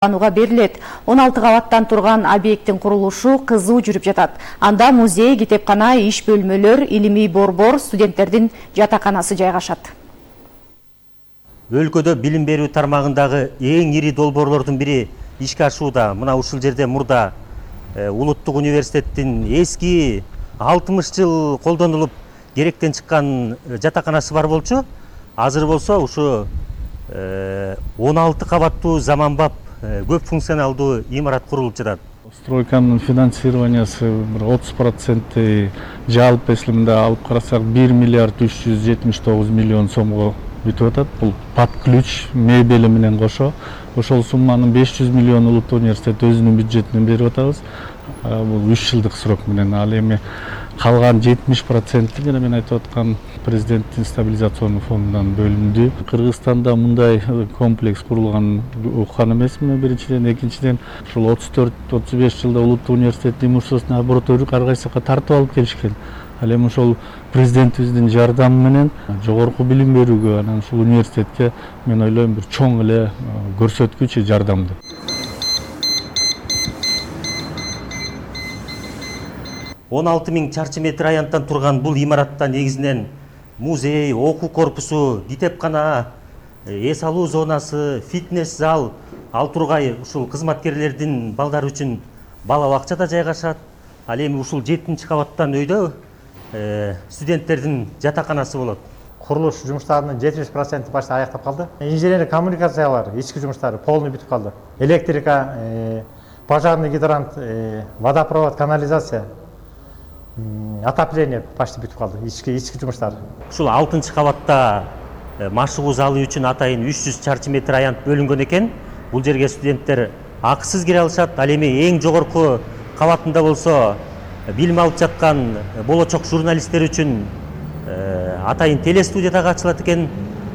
пайдаланууга берилет. 16 кабаттан турган объекттин курулушу кызуу жүрүп жатат. Анда музей, китепкана, иш бөлмөлөр, илимий борбор, студенттердин жатаканасы жайгашат. Өлкөдө билим берүү тармагындагы эң ири долбоорлордун бири ишке ашууда. Мына ушул жерде мурда Улуттук университеттин эски 60 жыл колдонулуп керектен чыккан жатаканасы бар болчу. Азыр болсо ушу 16 кабаттуу заманбап көп функционалдуу имарат курулуп жатат. Стройканын финансированиясы 30% жалпы эслимде алып карасак 1 миллиард 379 миллион сомго бүтүп атат. Бул под ключ мебели менен кошо. Ошол сумманын 500 миллион Улуттук университет өзүнүн бюджетинен берип атабыз. Бул 3 жылдык срок менен. Ал эми калган 70% жана мен айтып аткан президенттин стабилизационный фондунан бөлүндү. Кыргызстанда мындай комплекс курулган уккан эмесмин биринчиден, экинчиден ушул 34-35 жылда Улуттук университеттин имуществосун абротору ар кайсыга тартып алып келишкен. Ал эми ошол президентибиздин жардамы менен жогорку билим берүүгө, анан ушул университетке мен ойлойм бир чоң эле көрсөткүч жардамды. Он 16 000 чарчы метр аянттан турган бул имаратта негизинен музей, окуу корпусу, китепкана, эс алуу зонасы, фитнес зал, ал тургай ушул кызматкерлердин балдары үчүн бала бакча да жайгашат. Ал эми ушул 7-чи кабаттан өйдө студенттердин жатаканасы болот. Курулуш жумуштарынын 70% башта аяктап калды. Инженерия коммуникациялар, ички жумуштары полный бүтүп калды. Электрика, пожарный гидрант, водопровод, канализация, отопление почти бүтүп калды. Ички жумуштар. Ушул 6-чы кабатта машыгуу залы үчүн атайын 300 чарчы метр аянт бөлүнгөн экен. Бул жерге студенттер акысыз кире алышат. Ал эми эң жогорку кабатында болсо билим алып жаткан болочок журналисттер үчүн атайын телестудия дагы ачылат экен.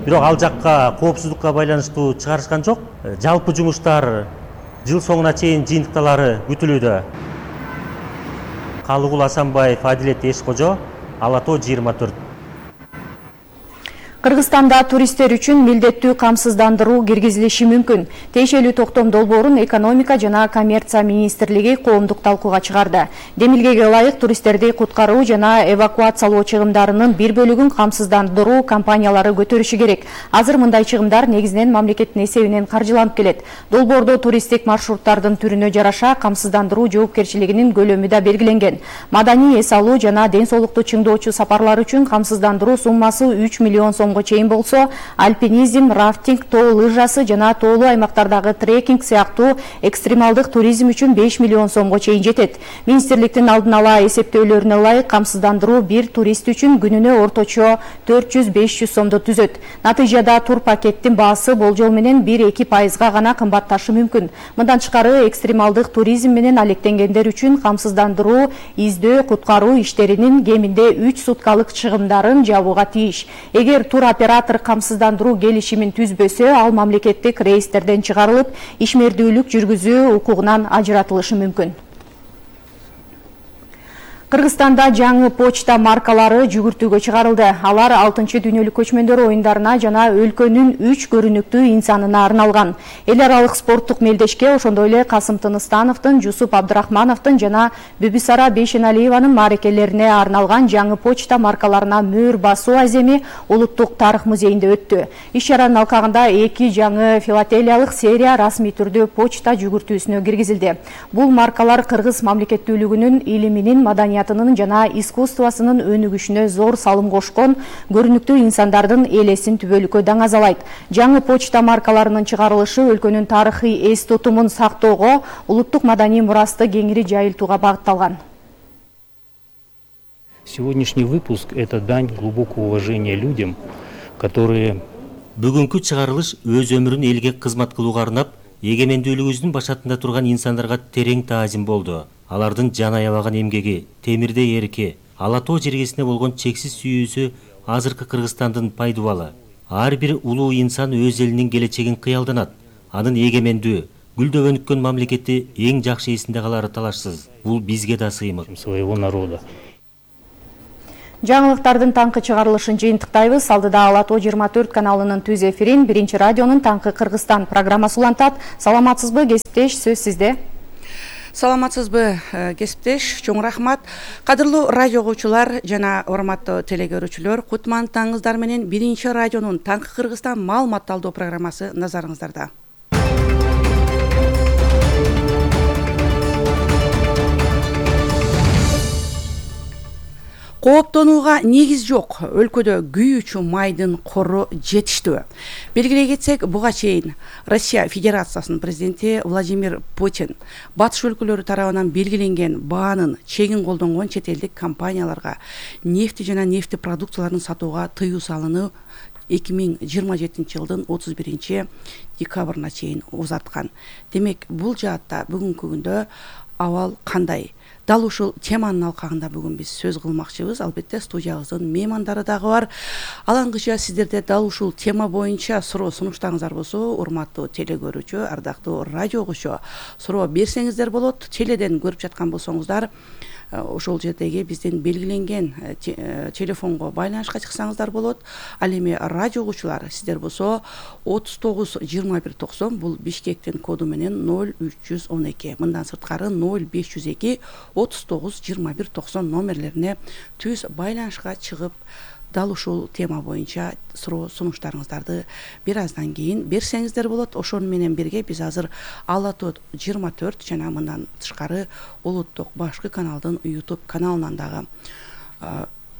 Бирок ал жакка коопсуздукка байланыштуу чыгарышкан жок. Жалпы жумуштар жыл соңуна чейин жыйынтыкталары күтүлүүдө. Калыгул Асанбаев, Адилет Эшкожо, Ала Тоо 24. Кыргызстанда туристтер үчүн милдеттүү камсыздандыруу киргизилиши мүмкүн. Тиешелүү токтом долбоорун экономика жана коммерция министрлиги коомдук талкууга чыгарды. Демилгеге ылайык туристтерди куткаруу жана эвакуациялоо чыгымдарынын бир бөлүгүн камсыздандыруу компаниялары көтөрүшү керек. Азыр мындай чыгымдар негизинен мамлекеттин эсебинен каржыланып келет. Долбоордо туристтик маршруттардын түрүнө жараша камсыздандыруу жоопкерчилигинин көлөмү да белгиленген. Маданий, эс алуу жана ден соолукту чыңдоочу сапарлар үчүн камсыздандыруу суммасы 3 миллион сом чейин болсо, альпинизм, рафтинг, тоо лыжасы жана тоолуу аймактардагы трекинг сыяктуу экстремалдык туризм үчүн 5 миллион сомго чейин жетет. Министрликтин алдын ала эсептөөлөрүнө ылайык камсыздандыруу бир турист үчүн күнүнө орточо 400-500 сомду түзөт. Натыйжада тур пакеттин баасы болжол менен 1-2% гана кымбатташы мүмкүн. Мындан тышкары экстремалдык туризм менен алектенгендер үчүн камсыздандыруу издөө куткаруу иштеринин кеминде 3 суткалык чыгымдарын жабууга тийиш. Эгер тур оператор камсыздандыруу келишимин түзбөсө, ал мамлекеттик рейстерден чыгарылып, ишмердүүлүк жүргүзүү укугунан ажыратылышы мүмкүн. Кыргызстанда жаңы почта маркалары жүгүртүүгө чыгарылды. Алар 6-чы дүйнөлүк көчмөндөр оюндарына жана өлкөнүн 3 көрүнүктүү инсанына арналган. Эл аралык спорттук мелдешке, ошондой эле Касым Тыныстановдун, Жусуп Абдрахмановдун жана Бүбүсара Бейшеналиеванын маарекелерине арналган жаңы почта маркаларына мөөр басуу аземи Улуттук тарых музейинде өттү. Иш-чаранын алкагында 2 жаңы филателиялык серия расмий түрдө почта жүгүртүүсүнө киргизилди. Бул маркалар кыргыз мамлекеттүүлүгүнүн, илиминин, маданиятынын жана искусствосунун өнүгүшүнө зор салым кошкон көрүнүктүү инсандардын элесин түбөлүккө даңазалайт. Жаңы почта маркаларынын чыгарылышы өлкөнүн тарыхый эс тутумун сактоого, улуттук маданий мурасты кеңири жайылтууга багытталган. Сегодняшний выпуск – это дань глубокого уважения людям, которые... Бүгүнкү чыгарылыш өз өмүрүн элге кызмат кылууга арнап, эгемендүүлүгүбүздүн башатында турган инсандарга терең таазим болду. Алардын жан аябаган эмгеги, темирдей эрике, Ала Тоо жергесине болгон чексиз сүйүүсү азыркы Кыргызстандын пайдубалы. Ар бир улуу инсан өз элинин келечегин кыялданат. Анын эгемендүү, гүлдөп өнүккөн мамлекети эң жакшы эсинде калары талашсыз. Бул бизге да сыймык. Своего народа. Жаңылыктардын таңкы чыгарылышын жыйынтыктайбыз. Алдыда Ала Тоо 24 каналынын түз эфирин Биринчи радионун Таңкы Кыргызстан программасы улантат. Саламатсызбы, кесиптеш, сөз сизде. Саламатсызбы, кесиптеш, чоң рахмат. Кадырлуу радио угуучулар жана урматтуу телегөрүүчүлөр, кутман таңыңыздар менен Биринчи радионун Таңкы Кыргызстан маалымат талдоо программасы назарыңыздарда. Кооптонууга негиз жок. Өлкөдө күйүүчү майдын кору жетиштүү. Белгилей кетсек, буга чейин Россия Федерациясынын президенти Владимир Путин батыш өлкөлөрү тарабынан белгиленген баанын чегин колдонгон чет элдик компанияларга нефти жана нефти продукцияларын сатууга тыюу салууну 2027 жылдын 31 декабрына чейин узарткан. Демек, бул жаатта бүгүнкү күндө абал кандай? Дал ушул теманын алкагында бүгүн биз сөз кылмакчыбыз. Албетте студиябыздын меймандары дагы бар. Алаңгыча сиздерде дал ушул тема боюнча суроо сунуштарыңыздар болсо, урматтуу телегөрүүчү, ардактуу радио угуучу, суроо берсеңиздер болот. Теледен көрүп жаткан болсоңуздар, ошол жердеги биздин белгиленген телефонго байланышка чыксаңыздар болот. Ал эми радио угуучулар, сиздер болсо 39 21 90 бул Бишкектин коду менен 0312, мындан сырткары 0502 39 21 90 номерлерине түз байланышка чыгып, дал ушул тема боюнча суроо сунуштарыңыздарды бир аздан кийин берсеңиздер болот. Ошону менен бирге биз азыр Ала Тоо 24 жана мындан тышкары улуттук башкы каналдын YouTube каналынан дагы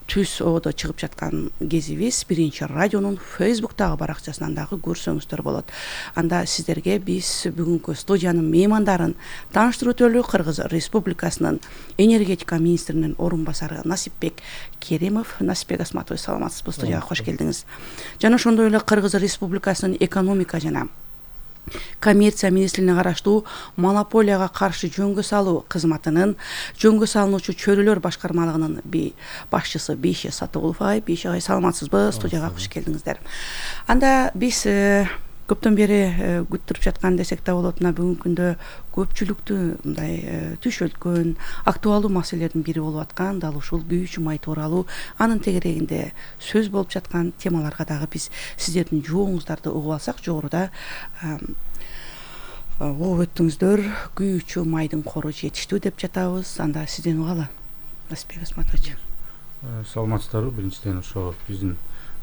түз одо чыгып жаткан кезибиз Биринчи радионун Facebook'тагы баракчасынан дагы көрсөңүздөр болот. Анда сиздерге биз бүгүнкү студиянын меймандарын тааныштыруу өтөлү. Кыргыз Республикасынын энергетика министринин орун басары Насипбек Керимов. Насипбек Асматович, саламатсызбы, студияга кош келдиңиз. Жана ошондой эле Кыргыз Республикасынын экономика жана коммерция министрлигине караштуу монополияга каршы жөнгө салуу кызматынын жөнгө салынуучу чөйрөлөр башкармалыгынын башчысы Бейше Сатыгулов агай. Бейше агай, саламатсызбы, студияга кош келдиңиздер. Анда биз көптөн бери күттүрүп жаткан десек да болот, мына бүгүнкү күндө көпчүлүктү мындай түш өлкөн актуалдуу маселелердин бири болуп аткан дал ушул күйүүчү май тууралуу, анын тегерегинде сөз болуп жаткан темаларга дагы биз сиздердин жооңуздарды угуп алсак, жогоруда угуп өттүңүздөр, күйүүчү майдын кору жетиштүү деп жатабыз. Анда сизден угалы, Насипбек Асматович. Саламатсыздарбы? Биринчиден ошо биздин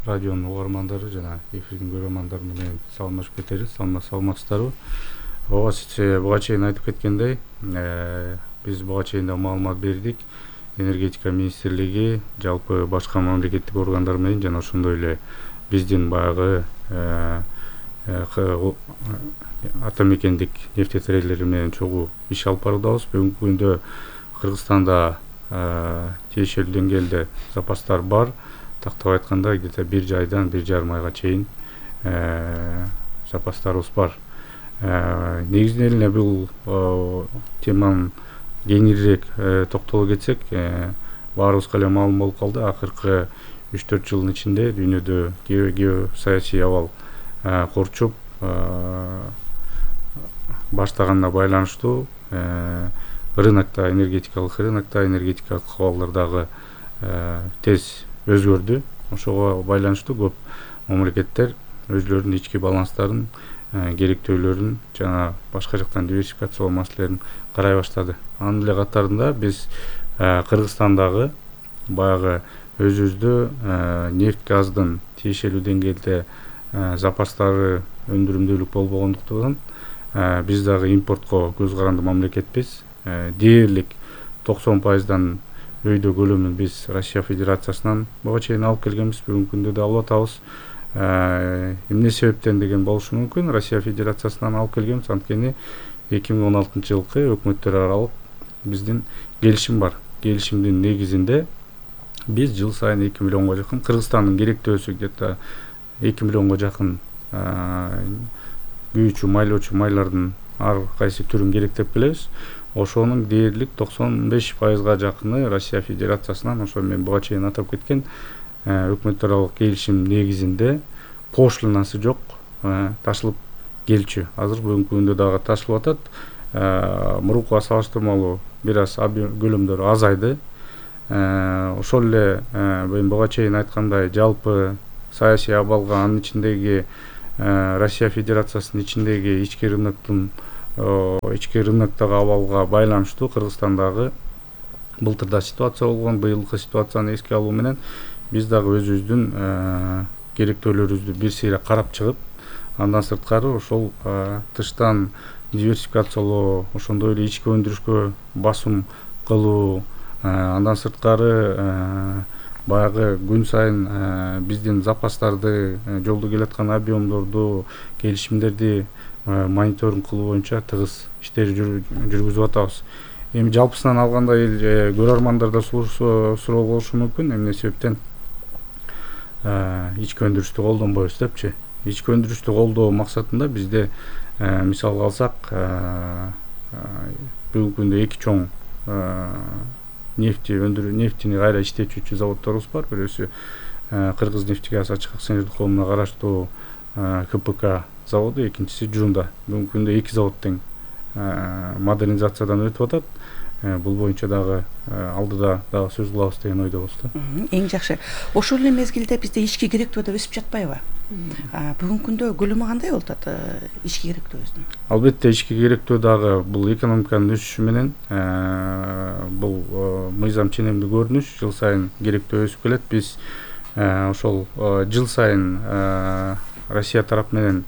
радионун угармандары жана эфирдин көрөрмандары менен саламдашып кетели. Саламатсыздарбы? Ооба, сиз буга чейин айтып кеткендей, биз буга чейин да маалымат бердик. Энергетика министрлиги жалпы башка мамлекеттик органдар менен жана ошондой эле биздин баягы атамекендик нефтетрейдерлер менен чогуу иш алып баруудабыз. Бүгүнкү күндө Кыргызстанда тиешелүү деңгээлде запастар бар. Тактап айтканда, где-то 1 айдан 1,5 айга чейин запастарыбыз бар. Негизинен эле бул теманын кеңирээк токтоло кетсек, баарыбызга эле маалым болуп калды. Акыркы 3-4 жылдын ичинде дүйнөдө геосаясий абал корчуп баштаганына байланыштуу рынокто, энергетикалык рынокто, энергетикалык абалдар дагы тез өзгөрдү. Ошого байланыштуу көп мамлекеттер өзлөрүнүн ички баланстарын, керектөөлөрүн жана башка жактан диверсификациялоо маселелерин карай баштады. Анын эле катарында биз Кыргызстандагы баягы өзүбүздө нефть газдын тиешелүү деңгээлде запастары өндүрүмдүүлүк болбогондуктан биз дагы импортко көз каранды мамлекетпиз. Дээрлик 90%дан өйдө көлөмүн биз Россия Федерациясынан буга чейин алып келгенбиз, бүгүнкү күндө да алып атабыз. Эмне себептен деген болушу мүмкүн? Россия Федерациясынан алып келгенбиз, анткени 2016 жылкы өкмөттөр аралык биздин келишим бар. Келишимдин негизинде биз жыл сайын 2 миллионго жакын, Кыргызстандын керектөөсү где-то 2 миллионго жакын күйүүчү, майлоочу майлардын ар кайсы түрүн керектеп келебиз. Ошонун дээрлик 95%га жакыны Россия Федерациясынан, ошо мен буга чейин атап кеткен өкмөттөр аралык келишим негизинде пошлинасы жок ташылып келчү. Азыр бүгүнкү күндө дагы ташылып атат. Мурункуга салыштырмалуу бир аз көлөмдөрү азайды. ошол эле мен буга чейин айткандай жалпы саясий абалга, анын ичиндеги Россия Федерациясынын ичиндеги ички рыноктогу абалга байланыштуу Кыргызстандагы былтырда ситуация болгон, быйылкы ситуацияны эске алуу менен биз дагы өзүбүздүн керектөөлөрүбүздү бир сейрек карап чыгып, андан сырткары ошол тыштан диверсификациялоо, ошондой эле ички өндүрүшкө басым кылуу, андан сырткары баягы күн сайын биздин запастарды, жолдо келаткан объемдорду, келишимдерди мониторинг кылуу боюнча тыгыз иштер жүргүзүп атабыз. Эми жалпысынан алганда көрөрмандарда суроо болушу мүмкүн, эмне себептен ички өндүрүштү колдонбойбуз депчи. Ички өндүрүштү колдоо максатында бизде мисалга алсак, бүгүнкү күндө эки чоң нефтини кайра иштетүүчү заводдорубуз бар. Бирөөсү Кыргыз нефтегаз ачык акционердик коомуна караштуу КПК заводу, экинчиси Жунда. Бүгүнкү күндө эки завод тең модернизациядан өтүп атат. Бул боюнча дагы алдыда дагы сөз кылабыз деген ойдобуз да. Эң жакшы. Ошол эле мезгилде бизде ички керектөө да өсүп жатпайбы? Бүгүнкү күндө көлөмү кандай болуп атат ички керектөөбүздүн? Албетте ички керектөө дагы бул экономиканын өсүшү менен бул мыйзам ченемдүү көрүнүш, жыл сайын керектөө өсүп келет. Биз ошол жыл сайын Россия тарап менен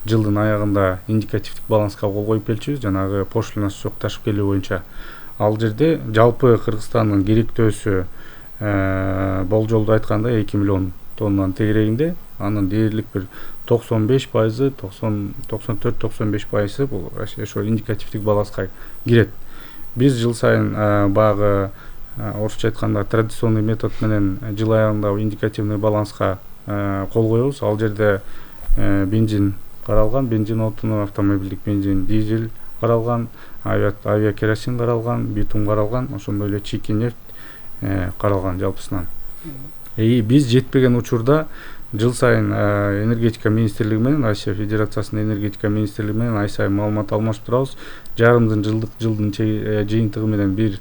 жылдын аягында индикативдик баланска кол коюп келчүбүз, жанагы пошлинасы жок ташып келүү боюнча. Ал жерде жалпы Кыргызстандын керектөөсү болжолдо айтканда 2 миллион тоннанын тегерегинде, анын дээрлик бир 95%, 94-95% бул ошо индикативдик баланска кирет. Биз жыл сайын баягы орусча айтканда традиционный метод менен жыл аягында индикативный баланска кол коебуз. Ал жерде бензин каралган, бензин отуну, автомобилдик бензин, дизель каралган, авиакеросин каралган, битум каралган, ошондой эле чийки нефть каралган жалпысынан. Биз жетпеген учурда жыл сайын энергетика министрлиги менен, Россия Федерациясынын энергетика министрлиги менен ай сайын маалымат алмашып турабыз. Жарымдын жылдын жыйынтыгы менен бир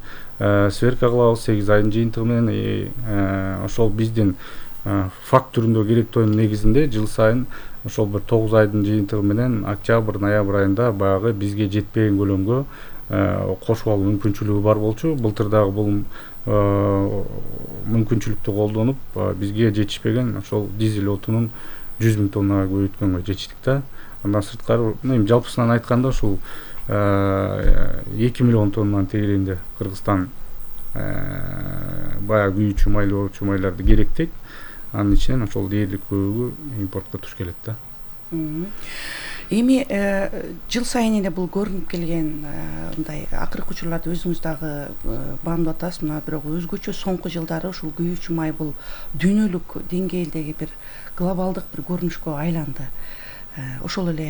сверка кылабыз, 8 айдын жыйынтыгы менен. Ошол биздин факт түрүндө керектөөнүн негизинде жыл сайын ошол бир 9 айдын жыйынтыгы менен октябрь, ноябрь айында баягы бизге жетпеген көлөмгө кошуп алуу мүмкүнчүлүгү бар болчу. Былтыр дагы бул мүмкүнчүлүктү колдонуп бизге жетишпеген ошол дизель отунун 100 000 тоннага көбөйткөнгө жетиштик да. Андан сырткары эми жалпысынан айтканда ушул 2 миллион тоннанын тегерегинде Кыргызстан баягы күйүүчү майлуу майларды керектейт. Анын ичинен ошол дээрлик көбүгү импортко туш келет да. Эми жыл сайын эле бул көрүнүп келген мындай акыркы учурларда өзүңүз дагы баамдап атасыз. Мына бирок өзгөчө соңку жылдары ушул күйүүчү май бул дүйнөлүк деңгээлдеги бир глобалдык бир көрүнүшкө айланды. Ошол эле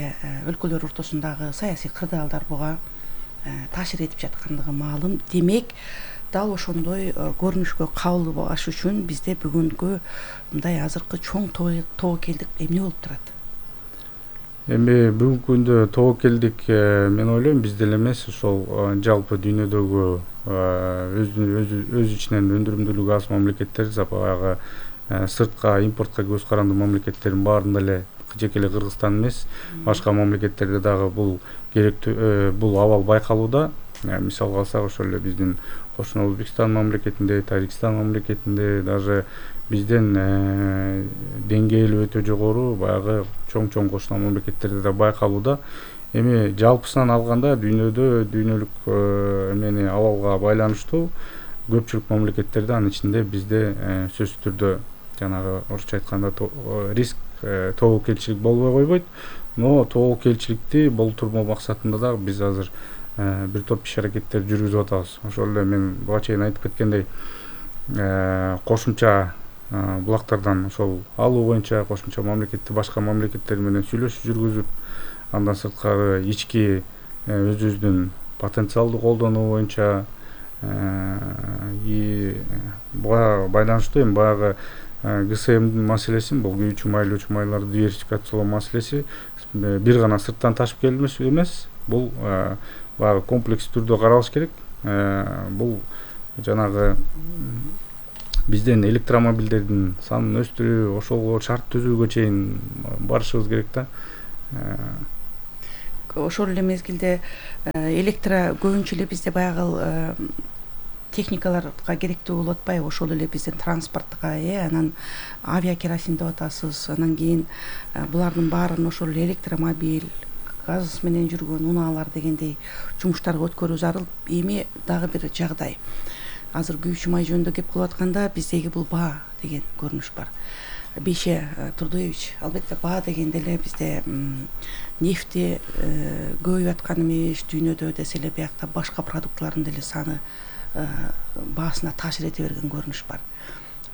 өлкөлөр ортосундагы саясий кырдаалдар буга таасир этип жаткандыгы маалым. Демек, дал ошондой көрүнүшкө кабыл болуш үчүн бизде бүгүнкү мындай азыркы чоң тобокелдик эмне болуп турат? Эми бүгүнкү күндө тобокелдик мен ойлойм бизде эле эмес, ошол жалпы дүйнөдөгү өз ичинен өндүрүмдүүлүгү аз мамлекеттер, баягы сыртка импортко көз карандуу мамлекеттердин баарында эле жеке эле Кыргызстан эмес, башка мамлекеттерде дагы бул керектүү бул абал байкалууда. Мисалга алсак, ошол эле биздин кошуна Өзбекстан мамлекетинде, Тажикстан мамлекетинде, даже бизден деңгээли өтө жогору баягы чоң кошуна мамлекеттерде да байкалууда. Эми жалпысынан алганда дүйнөлүк эмени абалга байланыштуу көпчүлүк мамлекеттерде, анын ичинде бизде сөзсүз түрдө жанагы орусча айтканда риск тобокелчилик болбой койбойт. Но тобокелчиликти болтурмоо максатында да биз азыр бир топ иш аракеттер жүргүзүп атабыз. Ошол эле мен буга чейин айтып кеткендей, кошумча булактардан ошол алуу боюнча кошумча башка мамлекеттер менен сүйлөшүү жүргүзүп, андан сырткары ички өзүбүздүн потенциалды колдонуу боюнча буга байланыштуу эми баягы ГСМдин маселесин, бул күйүүчү майлуучу майларды диверсификациялоо маселеси бир гана сырттан ташып келмеш эмес, бул баягы комплекс түрдө каралыш керек. Бул жанагы бизден электромобилдердин санын өстүрүү, ошого шарт түзүүгө чейин барышыбыз керек да. Ошол эле мезгилде көбүнчө эле бизде баягы техникаларга керектүү болуп атпайбы? Ошол эле биздин транспортко, анан авиакеросин деп атасыз, анан кийин булардын баарын ошол электромобиль, газ менен жүргөн унаалар дегендей жумуштарга өткөрүү зарыл. Эми дагы бир жагдай. Азыр күйүүчү май жөнүндө кеп кылып атканда биздеги бул баа деген көрүнүш бар. Бейше Турдуевич, албетте баа дегенде эле бизде нефти көбөйүп аткан эмес, дүйнөдө десе эле биякта башка продуктлардын деле саны баасына таасир эте берген көрүнүш бар.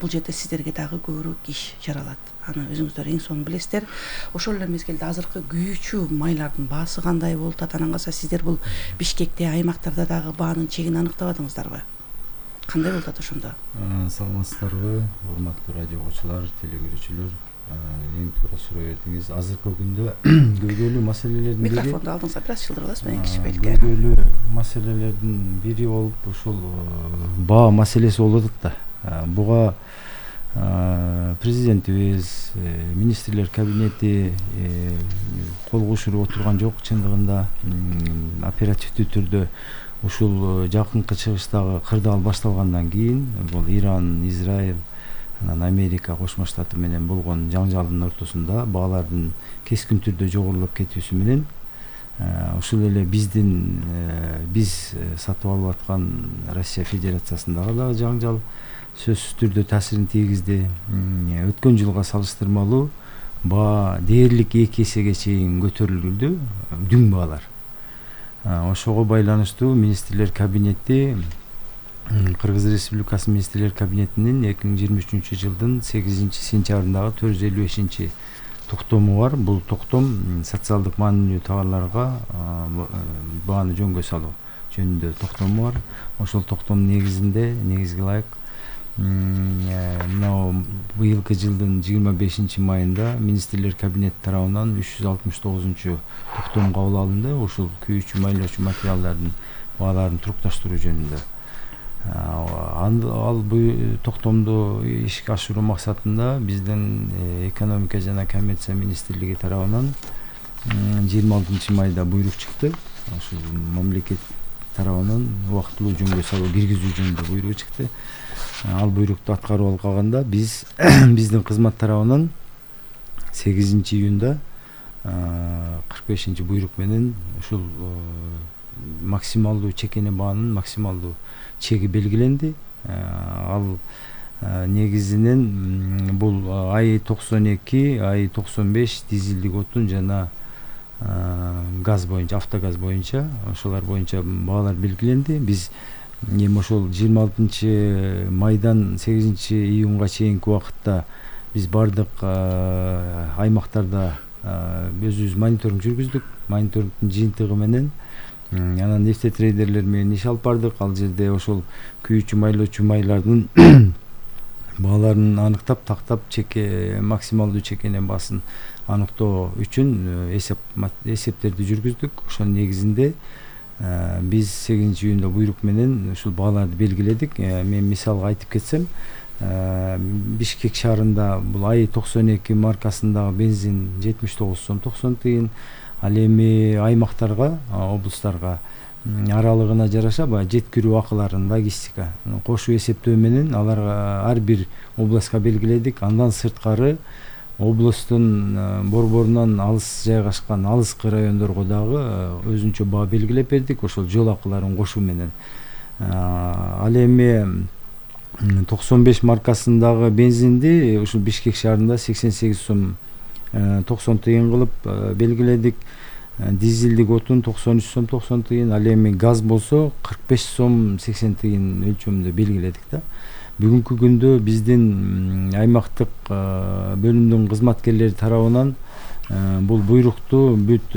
Бул жерде сиздерге дагы көбүрөөк иш жаралат. Аны өзүңүздөр эң сонун билесиздер. Ошол эле мезгилде азыркы күйүүчү майлардын баасы кандай болуп атат? Анан калса сиздер бул Бишкекте, аймактарда дагы баанын чегин аныктабадыңыздарбы? Кандай болуп атат ошондо? Саламатсыздарбы, урматтуу радио угуучулар, телегөрүүчүлөр. Эң туура суроо бердиңиз. Азыркы күндө көйгөйлүү маселелердин бири, микрофонду алдыңызга бир аз чылдырып аласызбы, эң кичибелге. Көйгөйлүү маселелердин бири болуп ушул баа маселеси болуп атат да. Буга президентибиз, министрлер кабинети кол кошуп отурган жок. Чындыгында оперативдүү түрдө ушул жакынкы чыгыштагы кырдаал башталгандан кийин бул Иран, Израиль, анан Америка Кошмо Штаты менен болгон жаңжалдын ортосунда баалардын кескин түрдө жогорулап кетүүсү менен ушул эле биз сатып алып аткан Россия Федерациясындагы дагы жаңжал сөзсүз түрдө таасирин тийгизди. Өткөн жылга салыштырмалуу баа дээрлик 2 эсеге чейин көтөрүлдү, дүң баалар. Ошого байланыштуу министрлер кабинети, Кыргыз Республикасы министрлер кабинетинин 2023 жылдын 8 сентябрындагы 455 токтому бар. Бул токтом социалдык маанилүү товарларга бааны жөнгө салуу жөнүндө токтому бар. Ошол токтомдун негизги ылайык мына быйылкы жылдын 25 майында министрлер кабинети тарабынан 369 токтом кабыл алынды. Ушул күйүүчү майлоочу материалдардын бааларын турукташтыруу жөнүндө. Ал бул токтомду ишке ашыруу максатында биздин экономика жана коммерция министрлиги тарабынан 26 майда буйрук чыкты. Ошол мамлекет тарабынан убактылуу жөнгө салуу киргизүү жөнүндө буйрук чыкты. Ал буйрукту аткарып алганда биздин кызмат тарабынан 8 июнда 45 буйрук менен ушул максималдуу чекене баанын максималдуу чеги белгиленди. Ал негизинен бул АИ-92, АИ-95 дизелдик отун жана газ боюнча, автогаз боюнча, ошолар боюнча баалар белгиленди. Биз эми ошол 26 майдан 8 июнга чейинки убакытта биз бардык аймактарда өзүбүз мониторинг жүргүздүк. Мониторингдин жыйынтыгы менен анан нефтетрейдерлер менен иш алып бардык. Ал жерде ошол күйүүчү майлоочу майлардын бааларын аныктап, тактап, максималдуу чекене баасын аныктоо үчүн эсептерди жүргүздүк. Ошонун негизинде биз 8 июнда буйрук менен ушул бааларды белгиледик. Мен мисалга айтып кетсем, Бишкек шаарында бул АИ-92 маркасындагы бензин 79 сом 90 тыйын. Ал эми аймактарга, облустарга аралыгына жараша баягы жеткирүү акыларын, логистика кошуп эсептөө менен аларга ар бир областка белгиледик. Андан сырткары облустун борборунан алыс жайгашкан алыскы райондорго дагы өзүнчө баа белгилеп бердик, ошол жол акыларын кошуу менен. Ал эми 95 маркасындагы бензинди ушул Бишкек шаарында 88 сом 90 тыйын кылып белгиледик. Дизелдик отун 93 сом 90 тыйын, ал эми газ болсо 45 сом 80 тыйын өлчөмүндө белгиледик да. Бүгүнкү күндө биздин аймактык бөлүмдүн кызматкерлери тарабынан бул буйрукту бүт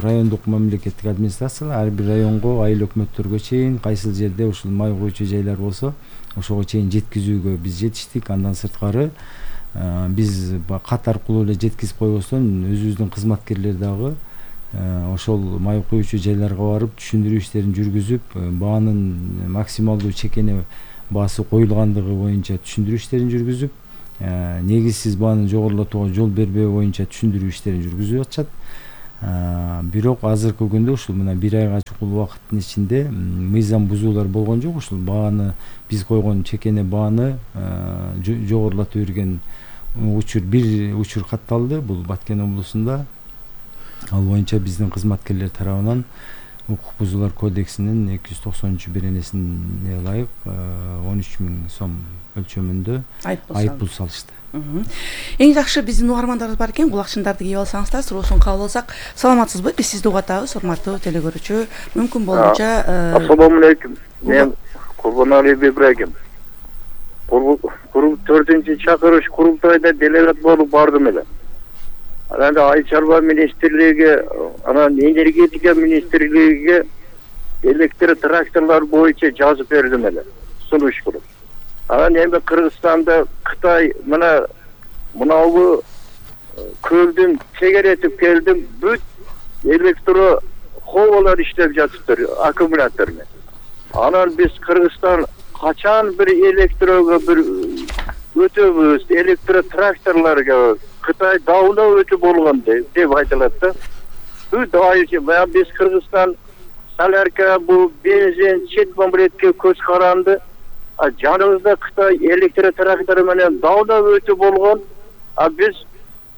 райондук мамлекеттик администрациялар, ар бир районго, айыл өкмөттөргө чейин кайсыл жерде ушул май коюучу жайлар болсо ошого чейин жеткизүүгө биз жетиштик. Андан сырткары биз кат аркылуу эле жеткизип койбостон өзүбүздүн кызматкерлер дагы ошол май куючу жайларга барып түшүндүрүү иштерин жүргүзүп, баанын максималдуу чекене баасы коюлгандыгы боюнча түшүндүрүү иштерин жүргүзүп, негизсиз бааны жогорулатууга жол бербөө боюнча түшүндүрүү иштерин жүргүзүп атышат. Бирок азыркы күндө ушул мына 1 айга чукул убакыттын ичинде мыйзам бузуулар болгон жок. Ушул бааны биз койгон чекене бааны жогорулата берген бир учур катталды. Бул Баткен облусунда. Ал боюнча биздин кызматкерлер тарабынан укук бузуулар кодексинин 290-беренесине ылайык 13 000 сом өлчөмүндө айыппул салышты. Эң жакшы биздин угармандарыбыз бар экен, кулакчындарды кийип алсаңыздар, суроосун кабыл алсак. Саламатсызбы? Биз сизди угатабыз, урматтуу телекөрүүчү. Мүмкүн болууча Ассаламу алейкум. Мен Курбанали Ибрагим. 4-чү чакырыш курултайда делегат болуп бардым эле. Анан Айыл чарба министрлиги, анан энергетика министрлигиге электр тракторлор боюнча жазып бердим эле. Сунуш кылып. Анан эми Кыргызстанда Кытай мынабу көлдүн чегеретип келдим, бүт электро ховалар иштеп жатыптыр, аккумулятор менен. Анан биз Кыргызстан качан бир электрого бир өтөбүз, электро тракторлорго Кытай дауна өтүп болгон деп айтылат да. Бүт айыл биз Кыргызстан солярка, бул бензин, чет мамлекетке көз каранды. Жаныбызда Кытай электр трактор менен дауна өтүп болгон. Биз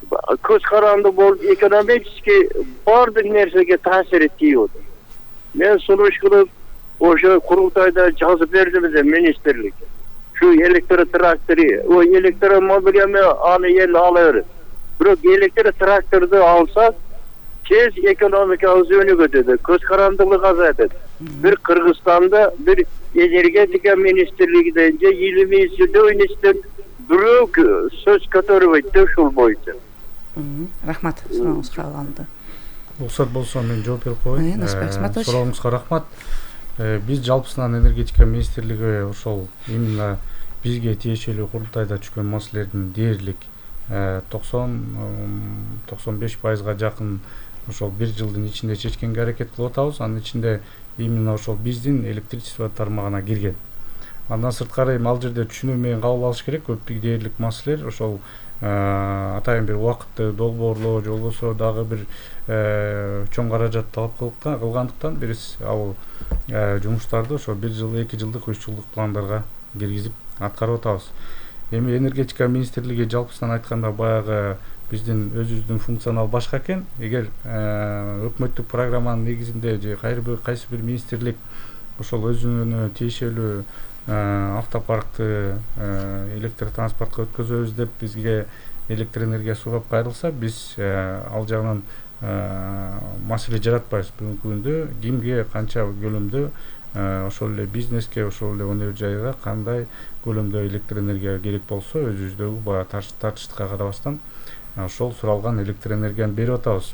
көз каранды болуп экономически бардык нерсеге таасир тийип атат. Мен сунуш кылып ошо курултайда жазып бердим министрлик. Şu elektro traktörü, o elektromobilimi anı yer alır. Bırak elektro traktörü alsak, tez ekonomik özünü götürdü. Köz karanlığı azaldı. Bir Kırgızistan'da bir energetika ministerliğinde 20 yıl bürok söz katörü etti şul boyunca. Rahmat, sorağınız kavlandı. Рұқсат болса мен жооп берип коеюн. Сурооңузга рахмат. Биз жалпысынан энергетика министрлиги ошол именно бизге тиешелүү курултайда түшкөн маселелердин дээрлик 90-95%га жакын ошол бир жылдын ичинде чечкенге аракет кылып атабыз. Анын ичинде именно ошол биздин электричество тармагына кирген. Андан сырткары ал жерде түшүнүү менен кабыл алыш керек. Көп дээрлик маселелер ошол атайын бир убакытты долбоорлоо же болбосо дагы бир чоң каражат талап кылгандыктан биз ал жумуштарды ошо 1 жыл, 2 жылдык, 3 жылдык пландарга киргизип аткарып атабыз. Эми энергетика министрлиги жалпысынан айтканда баягы биздин өзүбүздүн функционал башка экен. Эгер өкмөттүк программанын негизинде же кайсы бир министрлик ошол өзүнө тиешелүү автопаркты электр транспортко өткөзөбүз деп бизге электр энергия сугап кайрылса, биз ал жагынан маселе жаратпайбыз. Бүгүнкү күндө кимге канча көлөмдө ошол эле бизнеске, ошол эле өнөр жайга кандай көлөмдө электр энергия керек болсо, өзүбүздөгү баягы тартыштыкка карабастан ошол суралган электр энергияны берип атабыз.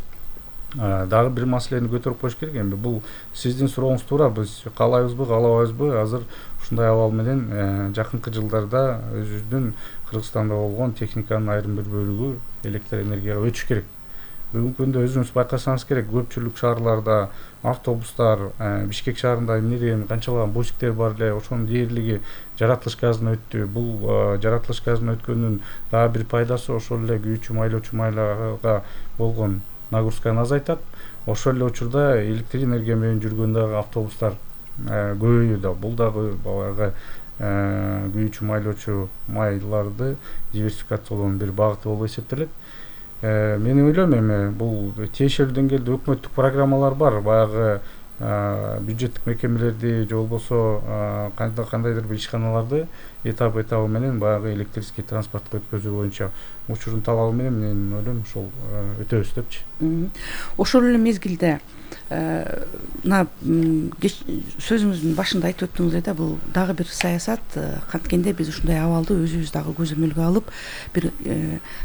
Дагы бир маселени көтөрүп коюш керек. Эми бул сиздин сурооңуз туура. Биз каалайбызбы, каалабайбызбы? Азыр ушундай абал менен жакынкы жылдарда өзүбүздүн Кыргызстанда болгон техниканын айрым бир бөлүгү электр энергияга өтүш керек. Бүгүнкү күндө өзүңүз байкасаңыз керек, көпчүлүк шаарларда автобустар, Бишкек шаарында эмне деген канчалаган бусиктер бар эле, ошонун дээрлиги жаратылыш газына өттү. Бул жаратылыш газына өткөндүн дагы бир пайдасы ошол эле күйүүчү майлоочу майларга болгон нагрузканы азайтат. Ошол эле учурда электр энергия менен жүргөн дагы автобустар көбөйүүдө. Бул дагы баягы күйүүчү майлоочу майларды диверсификациялоонун бир багыты болуп эсептелет. Мен ойлойм, эми бул тиешелүү деңгээлде өкмөттүк программалар бар. Баягы бюджеттик мекемелерди же болбосо кандайдыр бир ишканаларды этап менен баягы электрический транспортко өткөзүү боюнча учурун талабы менен мен ойлойм ошол өтөбүз депчи. Ошол эле мезгилде мына сөзүңүздүн башында айтып өттүңүз да, бул дагы бир саясат. Канткенде биз ушундай абалды өзүбүз дагы көзөмөлгө алып, бир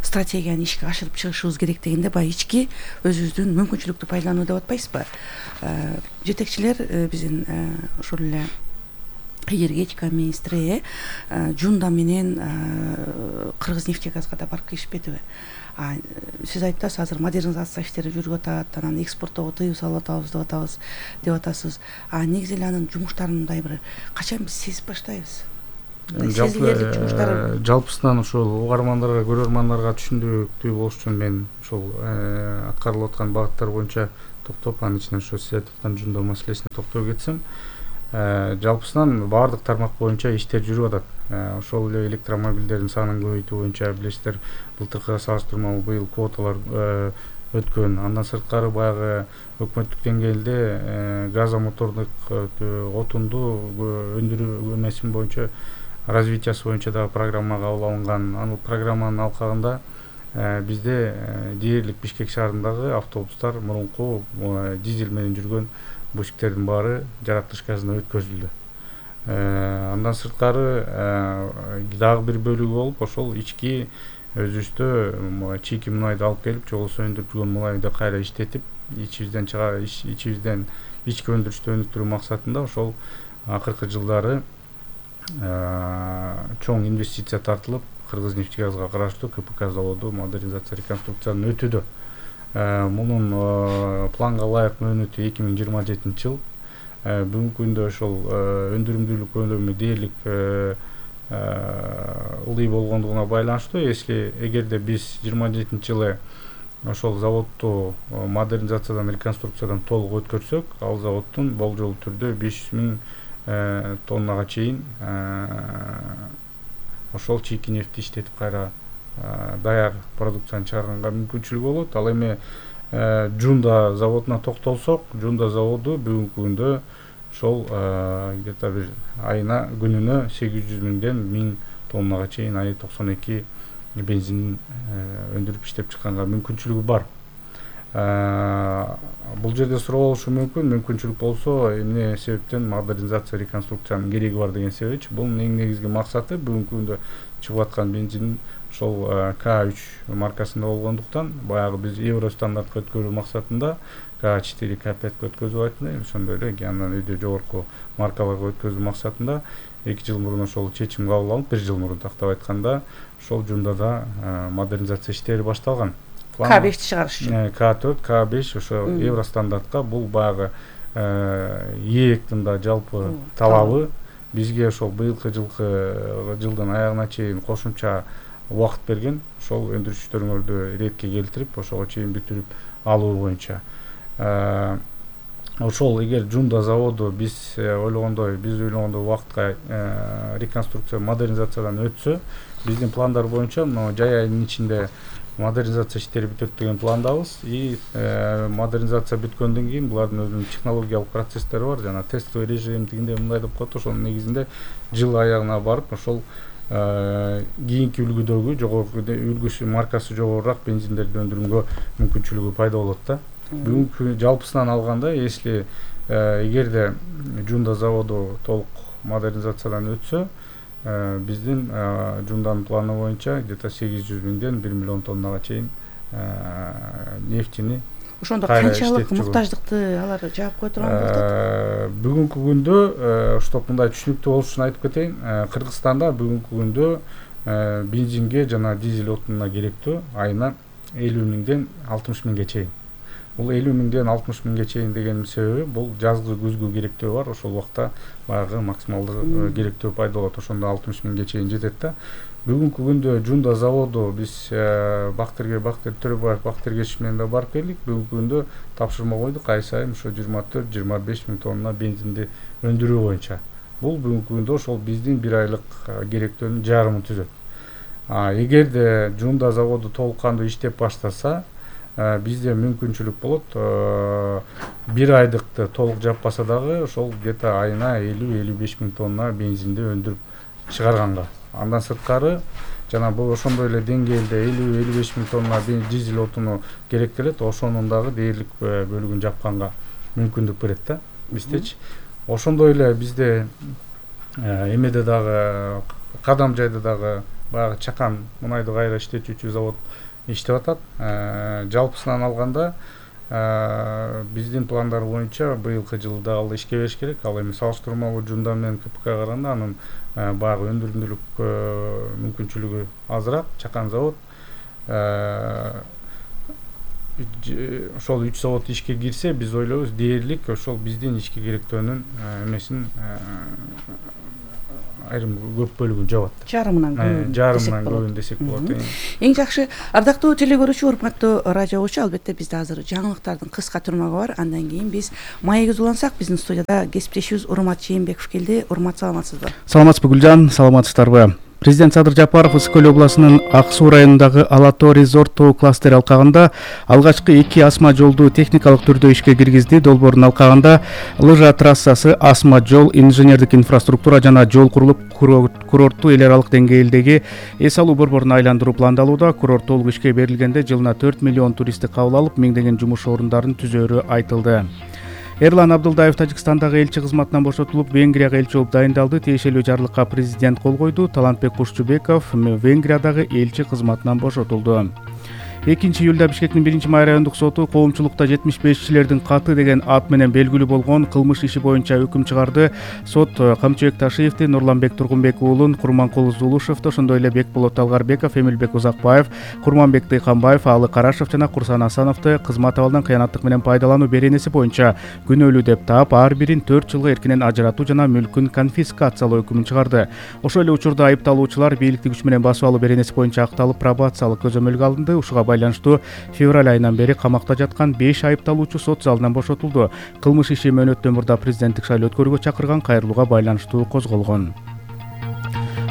стратегияны ишке ашырып чыгышыбыз керек дегенде, баягы ички өзүбүздүн мүмкүнчүлүктү пайдалануу деп атпайсызбы? Жетекчилер биздин ошол эле энергетика министри Жунда менен Кыргызнефтегазга да барып келишпедиби? Сиз айтып атасыз, азыр модернизация иштери жүрүп атат, анан экспорттоого тыюу салып атабыз деп атасыз. Негизи эле анын жумуштарын мындай бир качан биз сезип баштайбыз? Сезилерлик жумуштары жалпысынан ошол угармандарга, көрөрмандарга түшүндүктүү болуш үчүн мен ошол аткарылып аткан багыттар боюнча токтоп, анын ичинен ошо сиз айтып аткан Жунда маселесине токтоп кетсем, жалпысынан баардык тармак боюнча иштер жүрүп атат. Ошол эле электромобилдердин санын көбөйтүү боюнча билесиздер, былтыркыга салыштырмалуу быйыл квоталар өткөн. Андан сырткары баягы өкмөттүк деңгээлде газомотордук отунду өндүрүү эмесин боюнча, развитиясы боюнча дагы программа кабыл алынган. Анын программанын алкагында бизде дээрлик Бишкек шаарындагы автобустар мурунку дизель менен жүргөн бусиктердин баары жаратылыш газына өткөзүлдү. Андан сырткары дагы бир бөлүгү болуп, ошол ички өзүбүздө чийки мунайды алып келип, же болбосо өндүрүп жүргөн мунайды кайра иштетип, ичибизден ички өндүрүштү өнүктүрүү максатында ошол акыркы жылдары чоң инвестиция тартылып, Кыргызнефтегазга караштуу КПК заводу модернизация реконструкциядан өтүүдө. Мунун планга ылайык мөөнөтү 2027 жыл. Бүгүнкү күндө ошол өндүрүмдүүлүк көлөмү дээрлик ылдый болгондугуна байланыштуу, эгерде биз 27 жылы ошол заводду модернизациядан, реконструкциядан толук өткөрсөк, ал заводдун болжолдуу түрдө 500.000 тоннага чейин ошол чийки нефти иштетип кайра даяр продукцияны чыгарганга мүмкүнчүлүгү болот. Ал эми Жунда заводуна токтолсок, Жунда заводу бүгүнкү күндө ошол где-то бир айына күнүнө 800.000ден 1000 тоннага чейин ай 92 бензин өндүрүп иштеп чыкканга мүмкүнчүлүгү бар. Бул жерде суроо болушу мүмкүн, мүмкүнчүлүк болсо эмне себептен модернизация, реконструкциянын кереги бар деген себепчи. Бунун эң негизги максаты бүгүнкү күндө чыгып аткан бензин ошол К3 маркасында болгондуктан, баягы биз евро стандартка өткөрүү максатында К4, К5 өткөзүп атпайбы, ошондой эле андан өйдө жогорку маркаларга өткөзүү максатында 2 жыл мурун ошол чечим кабыл алынып, 1 жыл мурун тактап айтканда, ошол Жундада модернизация иштери башталган. К5 чыгарыш үчүн. К4, К5 ошо евро стандартка, бул баягы ээктин да жалпы талабы. Бизге ошол быйылкы жылдын аягына чейин кошумча убакыт берген, ошол өндүрүштөрүңөрдү иретке келтирип, ошого чейин бүтүрүп алуу боюнча. Ошол эгер Жунда заводу биз ойлогондой убакытка реконструкция, модернизациядан өтсө, биздин пландар боюнча жай айдын ичинде модернизация иштери бүтөт деген пландабыз. И модернизация бүткөндөн кийин булардын өзүнүн технологиялык процесстери бар, жана тестовый режим дегенде мындай деп коет, ошонун негизинде жыл аягына барып, ошол кийинки үлгүдөгү жогорку үлгүсү, маркасы жогорураак бензиндерди өндүрүүгө мүмкүнчүлүгү пайда болот да. Бүгүнкү жалпысынан алганда, если эгерде Жунда заводу толук модернизациядан өтсө, биздин Жунданын планы боюнча где-то 800.000ден 1 миллион тоннага чейин нефтини ошондо канчалык муктаждыкты алар жаап кое турган болуп атат? Бүгүнкү күндө, чтоб мындай түшүнүктүү болуш үчүн айтып кетейин, Кыргызстанда бүгүнкү күндө бензинге жана дизель отунуна керектүү айына 50.000ден 60.000ге чейин. Бул 50.000ден 60.000ге чейин дегенин себеби, бул жазгы күзгү керектөө бар, ошол убакта баягы максималдуу керектөө пайда болот, ошондо 60.000ге чейин жетет да. Бүгүнкү күндө Жунда заводу биз Бактыр Төрөбаев Бактыргеч менен да барып келдик. Бүгүнкү күндө тапшырма койдук, ай сайын ошо 24-25 миң тонна бензинди өндүрүү боюнча. Бул бүгүнкү күндө ошол биздин 1 айлык керектөөнүн жарымын түзөт. Эгерде Жунда заводу толук кандуу иштеп баштаса, бизде мүмкүнчүлүк болот 1 айдыкты толук жаппаса дагы ошол где-то айына 50-55 миң тонна бензинди өндүрүп чыгарганга. Андан сырткары жана бул ошондой эле деңгээлде 50-55 миң тонна дизель отуну керектелет, ошонун дагы дээрлик бөлүгүн жапканга мүмкүндүк берет да биздечи. Ошондой эле бизде эмеде дагы Кадам жайда дагы баягы чакан мунайды кайра иштетүүчү завод иштеп атат. Жалпысынан алганда биздин пландар боюнча быйылкы жылда ал ишке бериш керек. Ал эми салыштырмалуу жумда менен КПК караганда анын баягы өндүрүмдүүлүк мүмкүнчүлүгү азыраак. Чакан завод ошол 3 завод ишке кирсе, биз ойлойбуз дээрлик ошол биздин ишке керектөөнүн эмесин айрым көп бөлүгүн жабат. Жарымынан көбүн десек болот. Эң жакшы ардактуу теле көрүүчү, урматтуу радио угуучу, албетте бизде азыр жаңылыктардын кыска турмагы бар. Андан кийин биз маегибизди улансак, биздин студияда кесиптешибиз Урмат Жээнбеков келди. Урмат, саламатсызбы? Саламатсызбы Гүлжан, саламатсыздарбы? Президент Садыр Жапаров Ысык көл областынын Ак Суу районундагы Алато Резорт тоо кластери алкагында алгачкы 2 асма жолду техникалык түрдө ишке киргизди. Долбоордун алкагында лыжа трассасы, асма жол, инженердик инфраструктура жана жол курулуп, курортту эл аралык деңгээлдеги эс алуу борборун айландыруу пландалууда. Курорт толук ишке берилгенде жылына 4 миллион туристти кабыл алып, миңдеген жумуш орундарын түзөөрү айтылды. Эрлан Абдылдаев Тажикстандагы элчи кызматынан бошотулуп, Венгрияга элчи болуп дайындалды. Тиешелүү жарлыкка президент кол койду. Талантбек Кушчубеков Венгриядагы элчи кызматынан бошотулду. 2-июлда Бишкектин 1-май райондук соту коомчулукта 75-чилердин каты деген ат менен белгилүү болгон кылмыш иши боюнча өкүм чыгарды. Сот Камчыбек Ташиевди, Нурланбек Тургунбек уулун, Курманкул Зулушевди, ошондой эле Бекболот Талгарбеков, Эмилбек Узакбаев, Курманбек Тыйканбаев, Алы Карашев жана Курсан Асановду кызмат абалдан кыянаттык менен пайдалануу беренеси боюнча күнөөлүү деп таап, ар бирин 4 жылга эркинен ажыратуу жана мүлкүн конфискациялоо өкүмүн чыгарды. Ошол эле учурда айыпталуучулар бийликти күч менен басып алуу беренеси боюнча акталып, пробациялык көзөмөлгө алынды. Ушуга байланыштуу февраль айынан бери камакта жаткан 5 айыпталуучу сот залынан бошотулду. Кылмыш иши мөөнөттөн мурда президенттик шайлоо өткөрүүгө чакырган кайрылууга байланыштуу козголгон.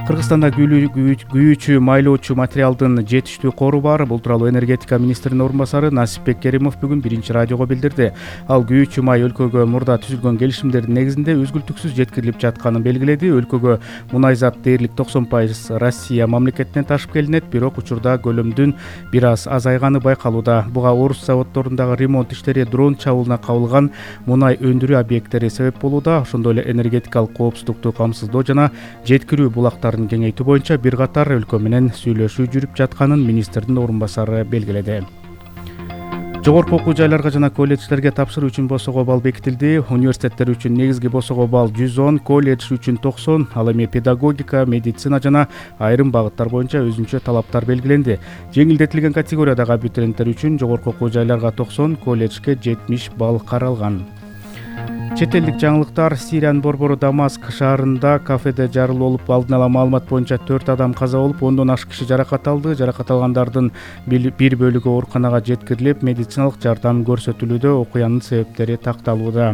Кыргызстанда күйүүчү майлоочу материалдын жетиштүү кору бар. Бул тууралуу энергетика министринин орун басары Насипбек Керимов бүгүн 1 радиого билдирди. Ал күйүүчү май өлкөгө мурда түзүлгөн келишимдердин негизинде үзгүлтүксүз жеткирилип жатканын белгиледи. Өлкөгө мунайзат дээрлик 90% Россия мамлекетинен ташып келинет, бирок учурда көлөмдүн бир аз азайганы байкалууда. Буга орус заводдорундагы ремонт иштери, дрон чабуулуна кабылган мунай өндүрүү объекттери себеп болууда. Ошондой эле энергетикалык коопсуздукту камсыздоо жана жеткирүү булактар кеңейтүү боюнча бир катар өлкө менен сүйлөшүү жүрүп жатканын министрдин орун басары белгиледи. Жогорку окуу жайларга жана колледждерге тапшыруу үчүн босого балл бекитилди. Университеттер үчүн негизги босого балл 110, колледж үчүн 90, ал эми педагогика, медицина жана айрым багыттар боюнча өзүнчө талаптар белгиленди. Жеңилдетилген категориядагы абитуриенттер үчүн жогорку окуу жайларга 90, колледжге 70 балл каралган. Чет элдик жаңылыктар. Сириянын борбору Дамаск шаарында кафеде жарылуу болуп, алдын ала маалымат боюнча 4 адам каза болуп, 10дон ашык киши жаракат алды. Жаракат алгандардын бир бөлүгү ооруканага жеткирилип, медициналык жардам көрсөтүлүүдө. Окуянын себептери такталууда.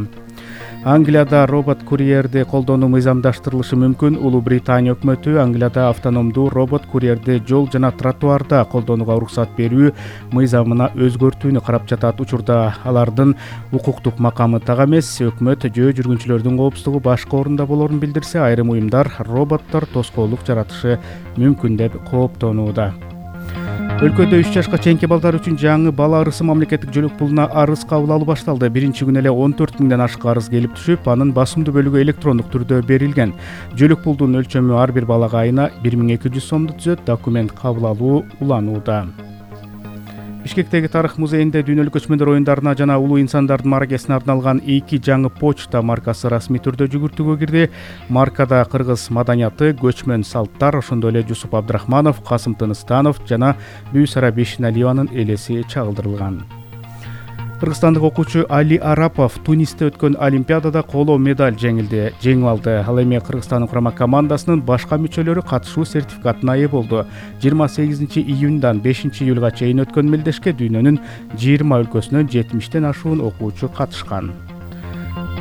Англияда робот-курьерди колдонуу мыйзамдаштырылышы мүмкүн. Улуу Британия өкмөтү Англияда автономдуу робот-курьерди жол жана тротуарда колдонууга уруксат берүү мыйзамына өзгөртүүнү карап жатат. Учурда алардын укуктук макамы так эмес. Өкмөт жөө жүргүнчүлөрдүн коопсуздугу башка орунда болорун билдирсе, айрым уюмдар роботтор тоскоолдук жаратышы мүмкүн деп кооптонууда. Өлкөдө 3 жашка чейинки балдар үчүн жаңы бала арысы мамлекеттик жөлөк пулуна арыз кабыл алуу башталды. Биринчи күнү эле 14 миңден ашык арыз келип түшүп, анын басымдуу бөлүгү электрондук түрдө берилген. Жөлөк пулдун өлчөмү ар бир балага айына 1200 сомду түзөт. Документ кабыл алуу уланууда. Бишкектеги тарых музейинде дүйнөлүк көчмөндөр оюндарына жана улуу инсандардын мааракесине арналган 2 жаңы почта маркасы расмий түрдө жүгүртүүгө кирди. Маркада кыргыз маданияты, көчмөн салттар, ошондой эле Жусуп Абдрахманов, Касым Тыныстанов жана Бүйсара Бешиналиеванын элеси чагылдырылган. Кыргызстандык окуучу Али Арапов Тунисте өткөн Олимпиадада коло медаль жеңип алды. Ал эми Кыргызстандын курама командасынын башка мүчөлөрү катышуу сертификатына ээ болду. 28 июндан 5 июлга чейин өткөн мелдешке дүйнөнүн 20 өлкөсүнөн 70тен ашуун окуучу катышкан.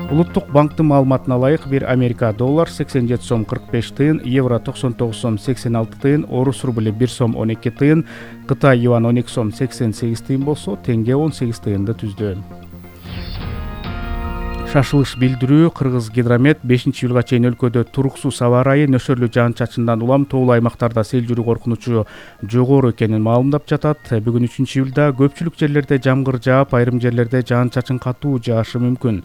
Улуттук банктын маалыматына ылайык, бир Америка доллар 87 сом 45 тыйын, евро 99 сом 86 тыйын, орус рубли 1 сом 12 тыйын, Кытай юан 12 сом 88 тыйын болсо, теңге 18 тыйынды түздү. Шашылыш билдирүү Кыргыз Гидромет 5-июлга чейин өлкөдө туруксуз аба ырайы, нөсөрлүү жаан-чачындан улам тоолуу аймактарда сел жүрүү коркунучу жогору экенин маалымдап жатат. Бүгүн 3-июлда көпчүлүк жерлерде жамгыр жаап, айрым жерлерде жаан-чачын катуу жаашы мүмкүн.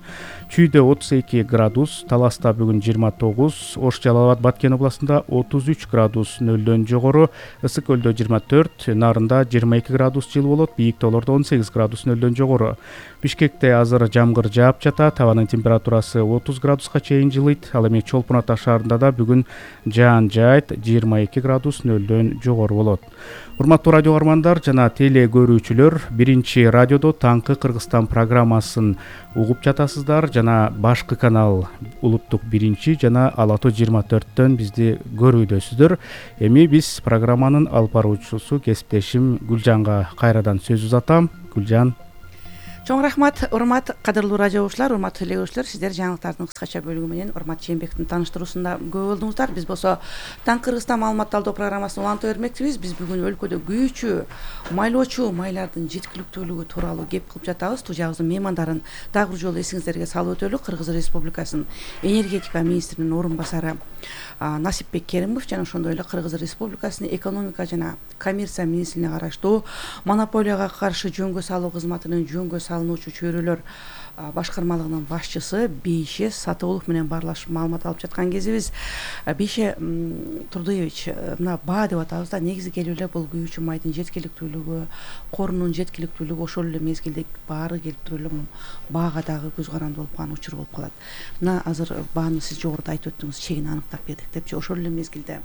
Чүйдө 32 градус, Таласта бүгүн 29, Ош, Жалал Абад, Баткен областында 33 градус нөлдөн жогору, Ысык көлдө 24, Нарында 22 градус жылы болот, бийик тоолордо 18 градус нөлдөн жогору. Бишкекте азыр жамгыр жаап жатат, абанын температурасы 30 градуска чейин жылыйт. Ал эми Чолпон Ата шаарында да бүгүн жаан жаайт, 22 градус нөлдөн жогору болот. Урматтуу радио каармандар жана теле көрүүчүлөр, биринчи радиодо таңкы Кыргызстан программасын угуп жатасыздар жана башкы канал улуттук 1 жана Ала Тоо 24төн бизди көрүүдөсүздөр. Эми биз программанын алып баруучусу кесиптешим Гүлжанга кайрадан сөз узатам. Гүлжан. Чоң рахмат, урмат кадырлуу радио угуучулар, урматтуу теле көрүүчүлөр, сиздер жаңылыктардын кыскача бөлүгү менен Урмат Жээнбековдун тааныштыруусунда көп болдуңуздар. Биз болсо Таңкы Кыргызстан маалымат талдоо программасын уланта бермекчибиз. Биз бүгүн өлкөдө күйүүчү майлоочу майлардын жеткиликтүүлүгү тууралуу кеп кылып жатабыз. Студиябыздын меймандарын дагы бир жолу эсиңиздерге салып өтөлү. Кыргыз Республикасынын энергетика министринин орун басары Насипбек Керимов жана ошондой эле Кыргыз Республикасынын экономика жана коммерция министрлигине караштуу монополияга каршы жөнгө салуу кызматынын жөнгө салынуучу чөйрөлөр башкармалыгынын башчысы Бейше Сатыгулов менен баарлашып маалымат алып жаткан кезибиз. Бейше Турдуевич, мына баа деп атабыз да, негизи келип эле бул күйүүчү майдын жеткиликтүүлүгү, корунун жеткиликтүүлүгү ошол эле мезгилде баары келип туруп эле баага дагы көз каранды болуп калган учур болуп калат. Мына азыр бааны сиз жогоруда айтып өттүңүз, чегин аныктап бердик депчи, ошол эле мезгилде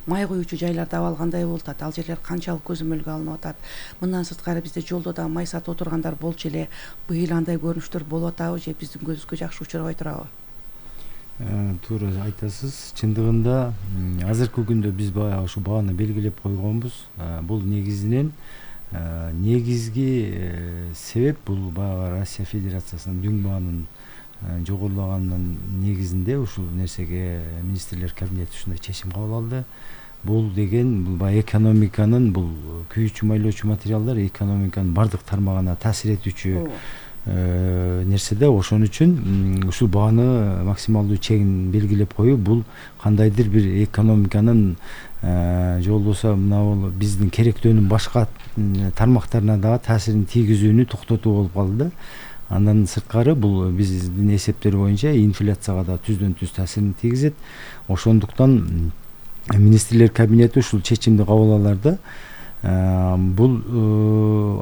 май куюучу жайларда абал кандай болуп атат, ал жерлер канчалык көзөмөлгө алынып атат. Мындан сырткары бизде жолдо да май сатып отургандар болчу эле. Быйыл андай көрүнүштөр болуп атабы же биздин көзүбүзгө жакшы учурабай турабы? Туура айтасыз. Чындыгында азыркы күндө биз баягы ушу бааны белгилеп койгонбуз. Бул негизинен негизги себеп бул баягы Россия Федерациясынын дүң баанын жогорулаганын негизинде ушул нерсеге министрлер кабинети ушундай чечим кабыл алды. Бул деген бул баягы экономиканын, бул күйүүчү майлоочу материалдар экономиканын бардык тармагына таасир этүүчү нерсе да. Ошон үчүн ушул бааны максималдуу чегин белгилеп коюу бул кандайдыр бир экономиканын же болбосо мына биздин керектөөнүн башка тармактарына дагы таасирин тийгизүүнү токтотуу болуп калды да. Андан сырткары бул биздин эсептер боюнча инфляцияга да түздөн түз таасирин тийгизет. Ошондуктан министрлер кабинети ушул чечимди кабыл аларды. Бул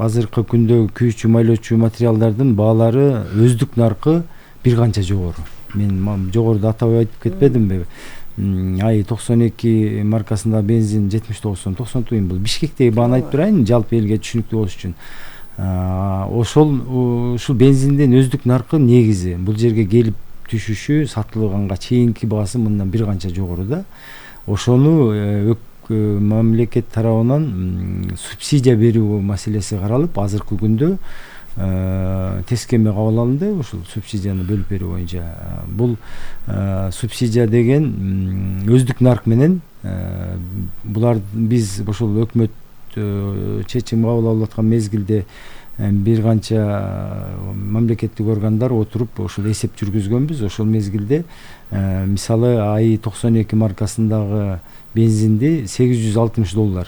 азыркы күндө күйүүчү майлоочу материалдардын баалары өздүк наркы бир канча жогору. Мен жогоруда атап айтып кетпедимби? Ай 92 маркасында бензин 79 сом 90 тыйын. Бул Бишкектеги бааны айтып турайын, жалпы элге түшүнүктүү болуш үчүн. Ушул бензиндин өздүк наркы негизи бул жерге келип түшүшү, сатылганга чейинки баасы мындан бир канча жогору да. Ошону мамлекет тарабынан субсидия берүү маселеси каралып, азыркы күндө тескеме кабыл алынды ушул субсидияны бөлүп берүү боюнча. Бул субсидия деген өздүк нарк менен булар биз ошол өкмөт чечим кабыл алып аткан мезгилде бир канча мамлекеттик органдар отуруп ошол эсеп жүргүзгөнбүз. Ошол мезгилде мисалы АИ 92 маркасындагы бензинди $860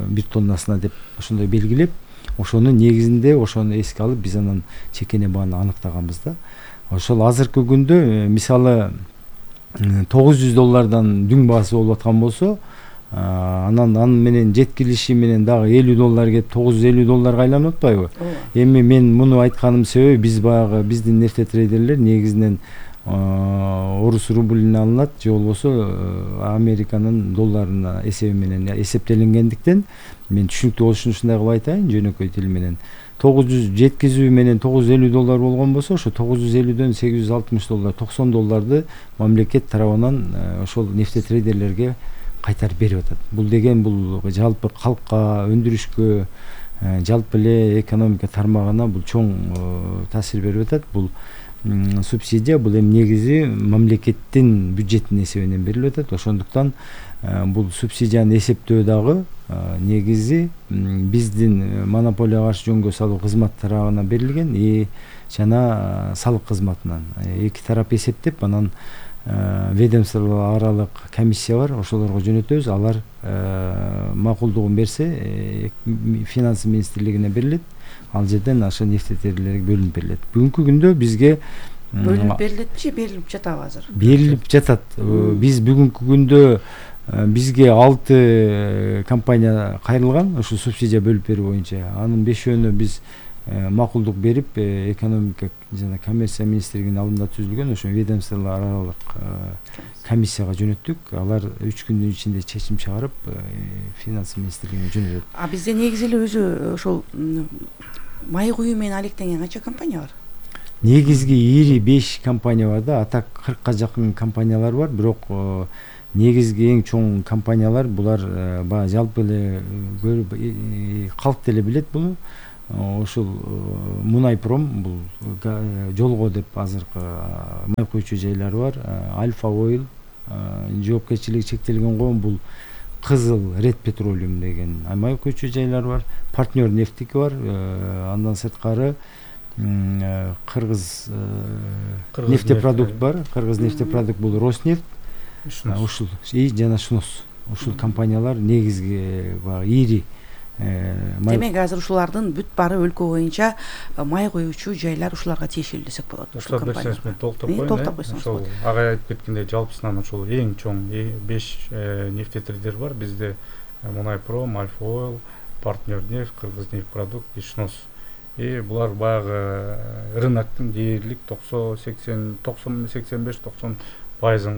бир тоннасына деп ошондой белгилеп, ошонун негизинде ошону эске алып биз анан чекене бааны аныктаганбыз да. Ошол азыркы күндө мисалы $900 дүң баасы болуп аткан болсо, анан менен жеткилиши менен дагы $50 кеп $950 айланып атпайбы? Эми мен муну айтканым себеби биз баягы биздин нефтетрейдерлер негизинен орус рублине алынат, же болбосо Американын долларына эсеби менен эсептелингендиктен мен түшүнүктүү болуш үчүн ушундай кылып айтайын, жөнөкөй тил менен. 900 жеткизүү менен $950 болгон болсо, ошо $950дөн $860, $90 мамлекет тарабынан ошол нефтетрейдерлерге кайтарып берип атат. Бул деген бул жалпы калкка, өндүрүшкө, жалпы эле экономика тармагына бул чоң таасир берип атат. Бул субсидия бул эми негизи мамлекеттин бюджетинин эсебинен берилип атат. Ошондуктан бул субсидияны эсептөө дагы негизи биздин монополияга каршы жөнгө салуу кызмат тарабына берилген. жана салык кызматынан эки тарап эсептеп анан ведомство аралык комиссия бар, ошолорго жөнөтөбүз. Алар макулдугун берсе финансы министрлигине берилет, ал жерден ошо нефтетерийлерге бөлүнүп берилет. Бүгүнкү күндө бизге бөлүнүп берилетпи же берилип жатабы азыр? Берилип жатат. Биз бүгүнкү күндө бизге 6 компания кайрылган ушу субсидия бөлүп берүү боюнча. Анын 5-өөнө биз макулдук берип, экономика жана коммерция министрлигинин алдында түзүлгөн ошо ведомстволор аралык комиссияга жөнөттүк. Алар 3 күндүн ичинде чечим чыгарып, финансы министрлигине жөнөтөт. А бизде негизи эле өзү ошол май куюу менен алектенген канча компания бар? Негизги ири 5 компания бар да, атак 40ка жакын компаниялар бар, бирок негизги эң чоң компаниялар булар баягы жалпы эле калк деле билет буну. Ошол Мунайпром, бул жолго деп азыркы май куючу жайлары бар. Альфа Ойл, жоопкерчилиги чектелген коом, бул Кызыл Ред Петролиум деген май куючу жайлары бар. Партнер нефтики бар. Андан сырткары Кыргыз нефтепродукт бар. Кыргыз нефтепродукт бул Роснефть, ушул жана Шнос. Ушул компаниялар негизги ири. Демек азыр ушулардын бүт баары өлкө боюнча май куючу жайлар ушуларга тиешелүү десек болот. Ушул берсеңиз мен толуктап коеюн. Ошол агай айтып кеткендей жалпысынан ошол эң чоң 5 нефтетерийлер бар. Бизде Мунайпром, Альфа Ойл, Партнер нефть, Кыргыз нефтепродукт, Шнос. Булар баягы рыноктун дээрлик 85-90%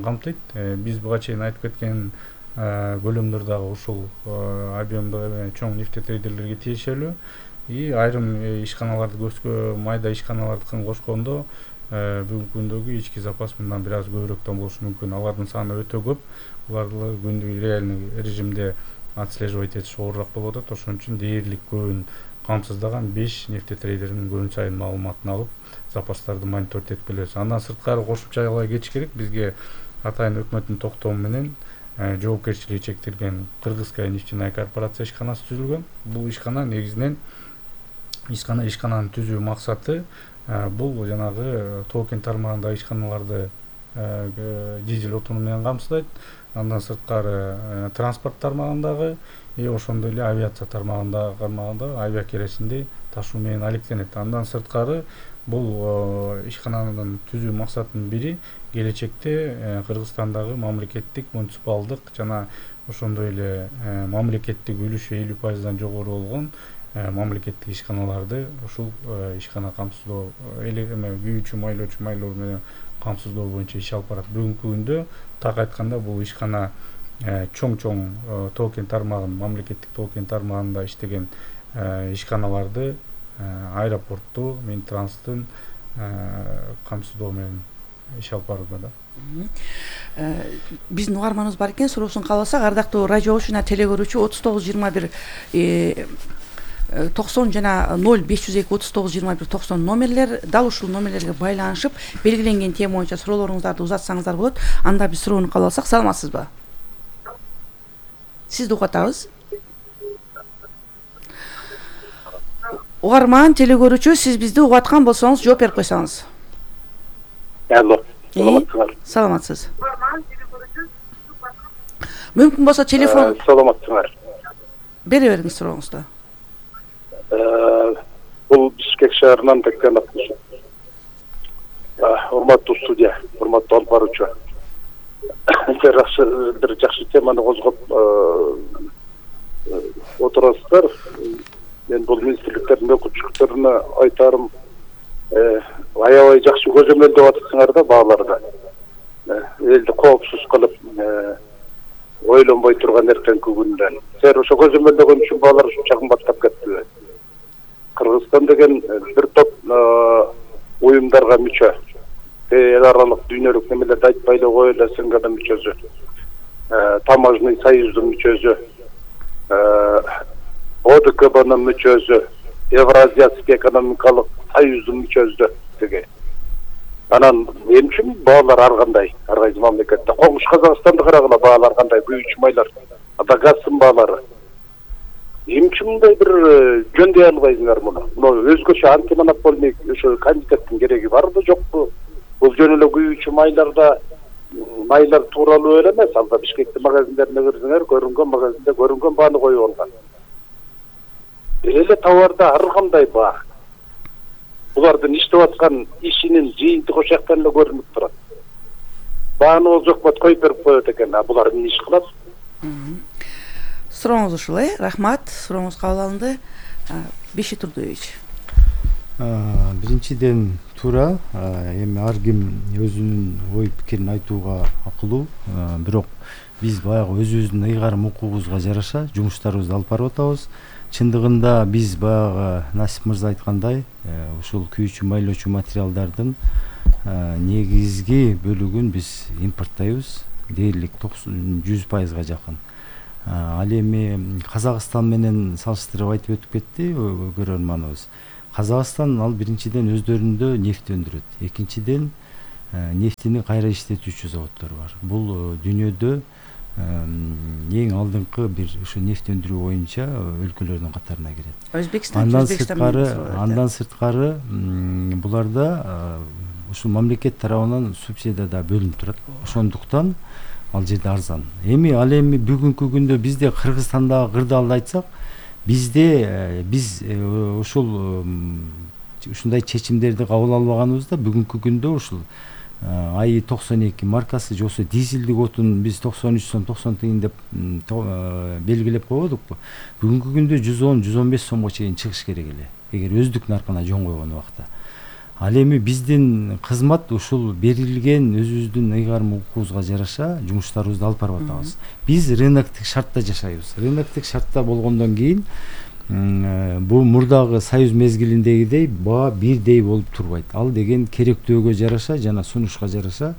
камтыйт. Биз буга чейин айтып кеткен бөлүмдөрдөгү ушул объемдогу чоң нефтетерийлерге тиешелүү. Айрым ишканаларды көзгө майда ишканалардыкын кошкондо бүгүнкү күндөгү ички запас мындан бир аз көбүрөөк болушу мүмкүн. Алардын саны өтө көп. Буларды күндүк реальный режимде отслеживать этиш оорураак болуп атат. Ошон үчүн дээрлик көбүн камсыздаган 5 нефтетерийлердин күн сайын маалыматын алып, запастарды мониторинг этип келебиз. Андан сырткары кошумчалай кетиш керек. Бизге атайын өкмөттүн токтому менен жоопкерчилиги чектелген Кыргызская нефтяная корпорация ишканасы түзүлгөн. Бул ишкана негизинен ишкананын түзүү максаты бул жанагы токен тармагындагы ишканаларды дизель отуну менен камсыздайт. Андан сырткары транспорт тармагындагы ошондой эле авиация тармагындагы авиакеросинди ташуу менен алектенет. Андан сырткары бул ишкананын түзүү максатынын бири келечекте Кыргызстандагы мамлекеттик, муниципалдык жана ошондой эле мамлекеттик үлүшү 50%дан жогору болгон мамлекеттик ишканаларды ушул ишкана камсыздоо, күйүүчү, майлоо менен камсыздоо боюнча иш алып барат. Бүгүнкү күндө так айтканда бул ишкана чоң токен тармагын, мамлекеттик токен тармагында иштеген ишканаларды аэропортту, Минтранстын камсыздоо менен иш алып барууда да. Биздин угарманыбыз бар экен, суроосун кабыл алсак, ардактуу радио жана телегөрүүчү 3921 90 жана 0502 3921 90 номерлер, дал ушул номерлерге байланышып белгиленген тема боюнча суроолоруңуздарды узатсаңыздар болот. Анда биз суроону кабыл алсак, саламатсызбы? Сизди угатабыз. Угарман, телегөрүүчү, сиз бизди угаткан болсоңуз жооп берип койсоңуз. Алло, саламатсызбы? Саламатсыз. Мүмкүн болсо телефон. Саламатсызбы? Бере бериңиз сурооңузду. Бул Бишкек шаарынан Бектен Акмышев. Урматтуу студия, урматтуу алып баруучу. Бир жакшы теманы козгоп отурасыздар. Мен бул министрликтердин өкүлчүлүктөрүнө айтарым, аябай жакшы көзөмөлдөп атасыңар да бааларды. Элди коопсуз кылып, ойлонбой турган эртеңки күндөн. Сер ошо көзөмөлдөгөн үчүн баалар ушунча кымбаттап кетти. Кыргызстан деген бир топ уюмдарга мүчө. Эл аралык дүйнөлүк немелерди айтпай эле коелу, СНГдын мүчөсү. Таможенный союздун мүчөсү. ОДКБнын мүчөсү. Евразиялык экономикалык союздун мүчөсү деген. Анан эмне үчүн баалар ар кандай? Ар кайсы мамлекетте коңуш Казакстанды карагыла баалар кандай, күйүүчү майлар, ада газдын баалары. Эмне үчүн мындай бир жөндөй албайсыңар муну? Мына өзгөчө антимонопольный ошо комитеттин кереги барбы, жокпу? Бул жөн эле күйүүчү майлар тууралуу эле эмес. Алда Бишкектин магазиндерине кирсеңер, көрүнгөн магазинде көрүнгөн бааны коюп алган. Эле товарда ар кандай баа. Булардын иштеп аткан ишинин жыйынтыгы ошол жактан эле көрүнүп турат. Бааны ол жокпот коюп берип коет экен. Булар эмне иш кылат? Сурооңуз ушул, рахмат. Сурооңуз кабыл алынды. Беши Турдуевич. Биринчиден туура, эми ар ким өзүнүн ой пикирин айтууга акылуу, бирок биз баягы өзүбүздүн ыйгарым укугубузга жараша жумуштарыбызды алып барып атабыз. Чындыгында биз баягы Насип мырза айткандай, ушул күйүүчү майлоочу материалдардын негизги бөлүгүн биз импорттойбуз. Дээрлик 100%-га жакын. Ал эми Казакстан менен салыштырып айтып өтүп кетти көрөрманыбыз. Казакстан ал биринчиден өздөрүндө нефть өндүрөт. Экинчиден нефтини кайра иштетүүчү заводдор бар. Бул дүйнөдө эң алдыңкы бир ушу нефть өндүрүү боюнча өлкөлөрдүн катарына кирет. Андан сырткары буларда ушул мамлекет тарабынан субсидия да бөлүнүп турат. Ошондуктан ал жерде арзан. Ал эми бүгүнкү күндө бизде Кыргызстандагы кырдаалды айтсак, биз ушул ушундай чечимдерди кабыл албаганыбызда бүгүнкү күндө ушул АИ 92 маркасы же болсо дизелдик отун биз 93 сом 90 тыйын деп белгилеп койбодукпу. Бүгүнкү күндө 110-115 сомго чейин чыгыш керек эле, эгер өздүк наркына жон койгон убакта. Ал эми биздин кызмат ушул берилген өзүбүздүн ыйгарым укугубузга жараша жумуштарыбызды алып барып атабыз. Биз рыноктук шартта жашайбыз. Рыноктук шартта болгондон кийин бул мурдагы союз мезгилиндегидей баа бирдей болуп турбайт. Ал деген керектөөгө жараша жана сунушка жараша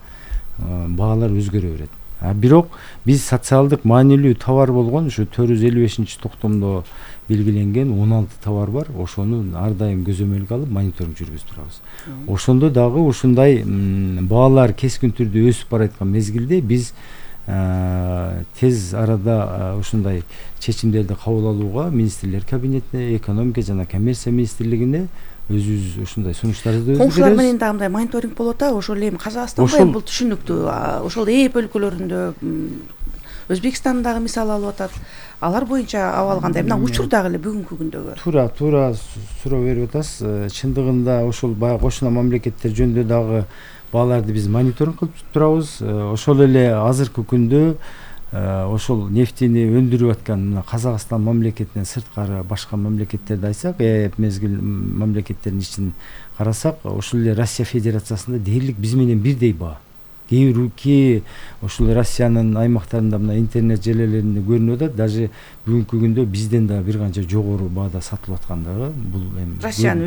баалар өзгөрө берет. Бирок биз социалдык маанилүү товар болгон ушу 455-токтомдо белгиленген 16 товар бар. Ошону ар дайым көзөмөлгө алып мониторинг жүргүзүп турабыз. Ошондо дагы ушундай баалар кескин түрдө өсүп бараткан мезгилде биз тез арада ушундай чечимдерди кабыл алууга министрлер кабинетине, экономика жана коммерция министрлигине өзүбүз ушундай сунуштарды беребиз. Коңшулар менен да мындай мониторинг болуп атабы? Ошол эми Казакстанда бул түшүнүктүү. Ошол ЭЭП өлкөлөрүндө, Өзбекстандагы мисал алып атат. Алар боюнча абал кандай? Мына учур дагы эле бүгүнкү күндөгү. Туура суроо берип атасыз. Чындыгында ошол баягы кошуна мамлекеттер жөнүндө дагы бааларды биз мониторинг кылып турабыз. Ошол эле азыркы күндө ошол нефтини өндүрүп аткан Казакстан мамлекетинен сырткары башка мамлекеттерди айтсак, мезгил мамлекеттердин ичин карасак, ошол эле Россия Федерациясында дээрлик биз менен бирдей баа. Кээ ошол Россиянын аймактарында мына интернет желелеринде көрүнүп атат, даже бүгүнкү күндө бизден да бир канча жогору баада сатылып аткандыгы бул эми Россиянын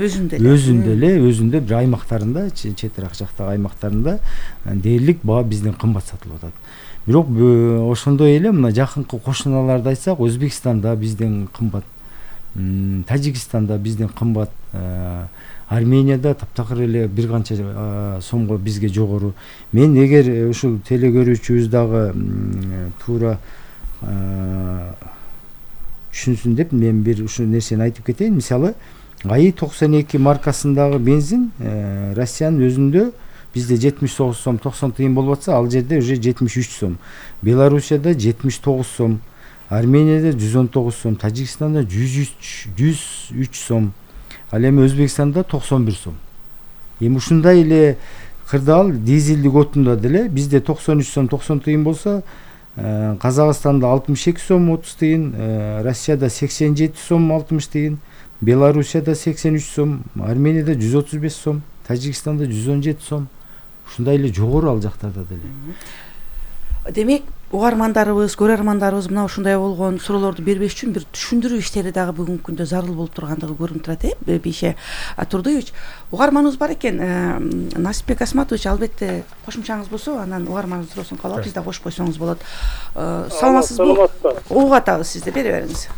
өзүндө бир аймактарында, четирак жактагы аймактарында дээрлик баа бизден кымбат сатылып атат. Бирок ошондой эле мына жакынкы кошуналарды айтсак, Өзбекстанда бизден кымбат, Тажикстанда бизден кымбат, Арменияда таптакыр эле бир канча сомго бизге жогору. Мен эгер ушул телекөрүүчүбүз дагы туура түшүнсүн деп мен бир ушул нерсени айтып кетейин. Мисалы, АИ 92 маркасындагы бензин Россиянын өзүндө бизде 79 сом 90 тыйын болуп атса, ал жерде уже 73 сом. Белоруссияда 79 сом, Арменияда 119 сом, Тажикстанда 103 сом. Ал эми Өзбекстанда 91 сом. Эми ушундай эле кырдаал дизелдик отунда деле бизде 93 сом 90 тыйын болсо, Казакстанда 62 сом 30 тыйын, Россияда 87 сом 60 тыйын, Белоруссияда 83 сом, Арменияда 135 сом, Тажикстанда 117 сом. Ушундай эле жогору ал жактарда деле. Демек, угармандарыбыз, көрөрмандарыбыз мына ушундай болгон суроолорду бербеш үчүн бир түшүндүрүү иштери дагы бүгүнкү күндө зарыл болуп тургандыгы көрүнүп турат, Бейше Турдуевич. Угарманыбыз бар экен, Насипбек Асматович, албетте кошумчаңыз болсо, анан угарманыбыз суроосун кабыл алып, биз да кошуп койсоңуз болот. Саламатсызбы? Угуп атабыз сизди, бере бериңиз.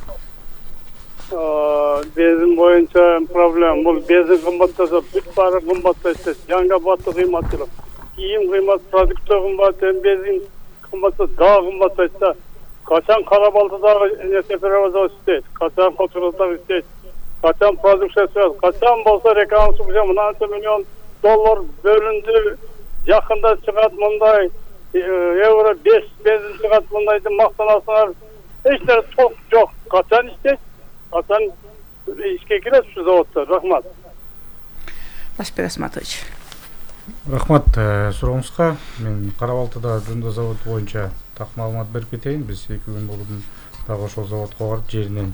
Безин боюнча проблема бул безин кымбаттаса бүт баары кымбаттайт. Жаңга баты кыймат жок. Кийим кыймат, продукция кымбат, безин кымбатса дагы кымбаттайт да. качан Кара-Балтадагы нефтеперевозок иштейт, качан Кочкордагы иштейт, качан продукция чыгат, качан болсо реконструкция мынанча миллион доллар бөлүндү, жакында чыгат мындай евро 5 бензин чыгат мындай деп мактанасыңар. Эч нерсе толк жок. Качан иштейт, качан ишке кирет ушу заводдор. Рахмат. Ташбек Асматович. Рахмат сурооңузга. Мен Кара-Балтада Жунда заводу боюнча так маалымат берип кетейин. Биз 2 күн болуп дагы ошол заводко барып жеринен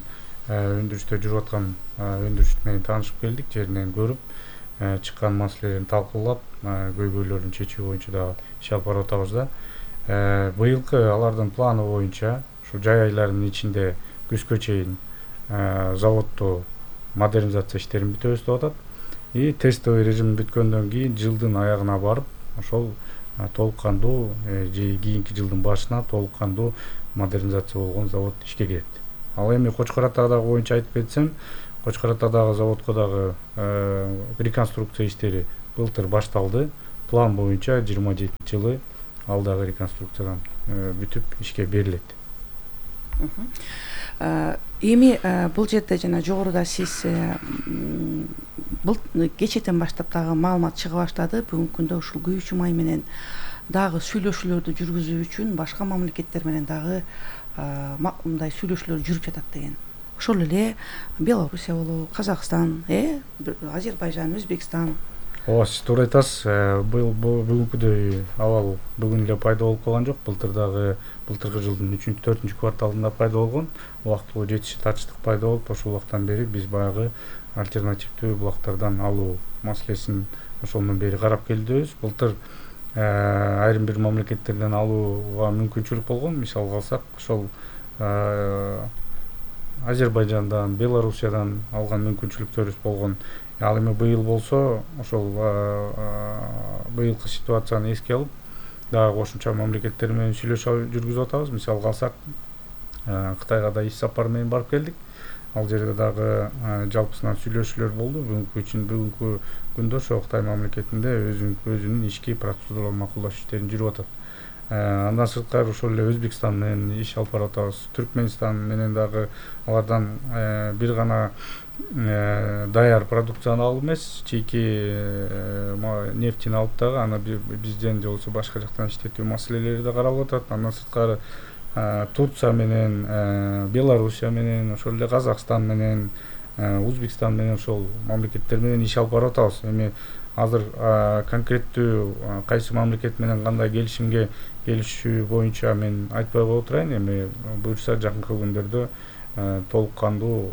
өндүрүштө жүрүп аткан өндүрүш менен таанышып келдик. Жеринен көрүп, чыккан маселелерин талкуулап, көйгөйлөрүн чечүү боюнча дагы иш алып барып атабыз да. Быйылкы алардын планы боюнча ушу жай айларынын ичинде күзгө чейин заводду модернизация иштерин бүтөбүз деп атат. И тестовый режим бүткөндөн кийин жылдын аягына барып, ошол толук кандуу же кийинки жылдын башына толук кандуу модернизация болгон завод ишке кирет. Ал эми Кочкор Атадагы боюнча айтып кетсем, Кочкор Атадагы заводко дагы реконструкция иштери былтыр башталды. План боюнча 27-жылы ал дагы реконструкциядан бүтүп ишке берилет. Эми бул жерде жана жогоруда сиз бул кечетен баштап дагы маалымат чыга баштады. Бүгүнкү күндө ушул күйүүчү май менен дагы сүйлөшүүлөрдү жүргүзүү үчүн башка мамлекеттер менен дагы мындай сүйлөшүүлөр жүрүп жатат деген. Ошол эле Белоруссия болобу, Казакстан, Азербайжан, Өзбекстан. Ооба, сиз туура айтасыз. Бүгүнкүдөй абал бүгүн эле пайда болуп калган жок. Былтыркы жылдын 3-4 кварталында пайда болгон. Убактылуу жетиши тартыштык пайда болуп, ошол убактан бери биз баягы альтернативдүү булактардан алуу маселесин ошондон бери карап келдибиз. Былтыр айрым бир мамлекеттерден алууга мүмкүнчүлүк болгон. Мисалга алсак, ошол Азербайжандан, Белоруссиядан алган мүмкүнчүлүктөрүбүз болгон. Ал эми быйыл болсо, ошол быйылкы ситуацияны эске алып, дагы кошумча мамлекеттер менен сүйлөшүү жүргүзүп атабыз. Мисалга алсак, Кытайга да иш сапар менен барып келдик. Ал жерде дагы жалпысынан сүйлөшүүлөр болду. Бүгүнкү күндө ошо Кытай мамлекетинде өзүнүн ички процедуралар макулдаш иштерин жүрүп атат. Андан сырткары ошол эле Өзбекстан менен иш алып барып атабыз. Түркмөнстан менен дагы алардан бир гана даяр продукцияны алып эмес, чийки нефтини алып дагы аны бизден же болбосо башка жактан иштетүү маселелери да каралып атат. Андан сырткары Турция менен, Белоруссия менен, ошол эле Казакстан менен, Өзбекстан менен ошол мамлекеттер менен иш алып барып атабыз. Эми азыр конкреттүү кайсы мамлекет менен кандай келишимге келишүү боюнча мен айтпай коюп турайын. Эми буюрса жакынкы күндөрдө толук кандуу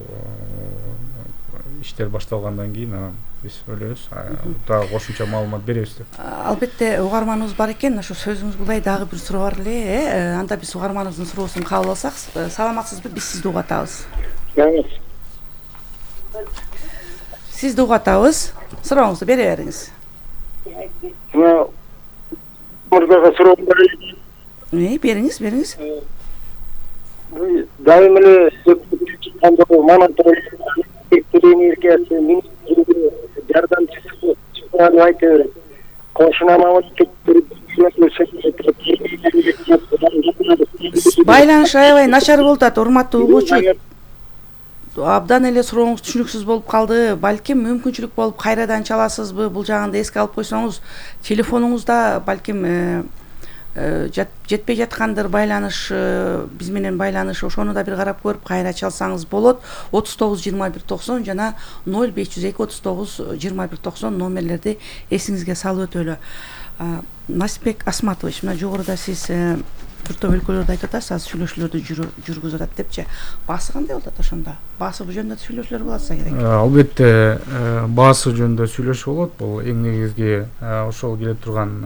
иштер башталгандан кийин биз ойлойбуз, дагы кошумча маалымат беребиз деп. Албетте угарманыбыз бар экен. Ошо сөзүңүз булай дагы бир суроо бар эле. Анда биз угарманыбыздын суроосун кабыл алсак, саламатсызбы? Биз сизди угатабыз. Сизди угатабыз. Сурооңузду бере бериңиз. Мурдага суроом бар эле. Бериңиз. Дайым эле электр энергиясы министрлиги жардамчысы чыгарып айтып берет. Кошуна мамлекеттер байланыш аябай начар болуп атат, урматтуу угуучу. Абдан эле сурооңуз түшүнүксүз болуп калды. Балким мүмкүнчүлүк болуп кайрадан чаласызбы? Бул жагында эске алып койсоңуз, телефонуңузда балким жетпей жаткандыр байланыш, биз менен байланыш, ошону да бир карап көрүп кайра чалсаңыз болот. 39-21-90 жана 0502-39-21-90 номерлерди эсиңизге салып өтөлү. Насипбек Асматович, мына жогоруда сиз бир топ өлкөлөрдү айтып атасыз, азыр сүйлөшүүлөрдү жүргүзүп атат депчи. Баасы кандай болуп атат ошондо? Баасы бул жөнүндө сүйлөшүүлөр болса керек. Албетте, баасы жөнүндө сүйлөшүү болот. Бул эң негизги ошол келе турган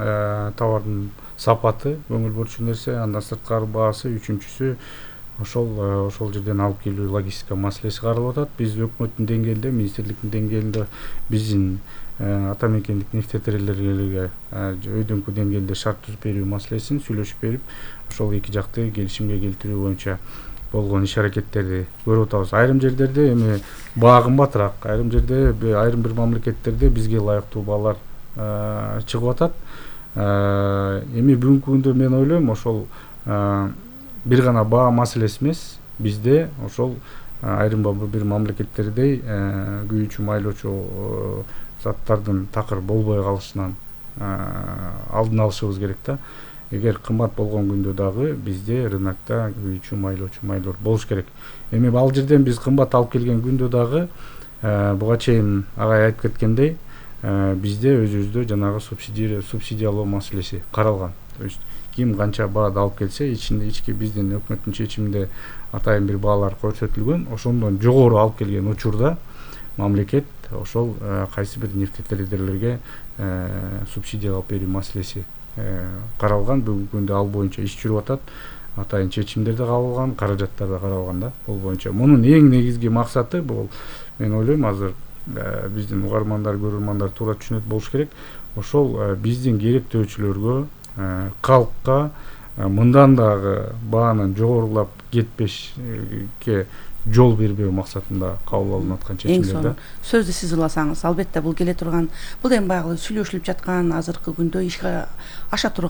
товардын сапаты көңүл бурчу нерсе. Андан сырткары баасы, үчүнчүсү ошол жерден алып келүү логистика маселеси каралып атат. Биз өкмөттүн деңгээлинде, министрликтин деңгээлинде биздин ата мекендик нефтетерелерге өйдөңкү деңгээлде шарт түзүп берүү маселесин сүйлөшүп берип, ошол эки жакты келишимге келтирүү боюнча болгон иш аракеттерди көрүп атабыз. Айрым жерлерде эми баа кымбатыраак, айрым жерде, айрым бир мамлекеттерде бизге ылайыктуу баалар чыгып атат. Эми бүгүнкү күндө мен ойлойм, ошол бир гана баа маселеси эмес, бизде ошол айрым бир мамлекеттердей күйүүчү майлоочу заттардын такыр болбой калышынан алдын алышыбыз керек да. Эгер кымбат болгон күндө дагы бизде рынокто күйүүчү майлоочу майлор болуш керек. Эми ал жерден биз кымбат алып келген күндө дагы буга чейин агай айтып кеткендей, бизде өзүбүздө жанагы субсидиялоо маселеси каралган. То есть ким канча баады алып келсе, ички биздин өкмөттүн чечиминде атайын бир баалар көрсөтүлгөн. Ошондон жогору алып келген учурда мамлекет ошол кайсы бир нефтетрейдерлерге субсидия алып берүү маселеси каралган. Бүгүнкү күндө ал боюнча иш жүрүп атат. Атайын чечимдер да кабыл алган, каражаттар да каралган да. Бул боюнча мунун эң негизги максаты бул, мен ойлойм, азыр биздин угармандар, көрөрмандар туура түшүнөт болуш керек. Ошол биздин керектөөчүлөргө, калкка мындан дагы баанын жогорулап кетпешке жол бербөө максатында кабыл алынып аткан чечимдер да. Сөздү сиз уласаңыз, албетте бул келе турган, бул эми баягы сүйлөшүлүп жаткан азыркы күндө ишке аша турган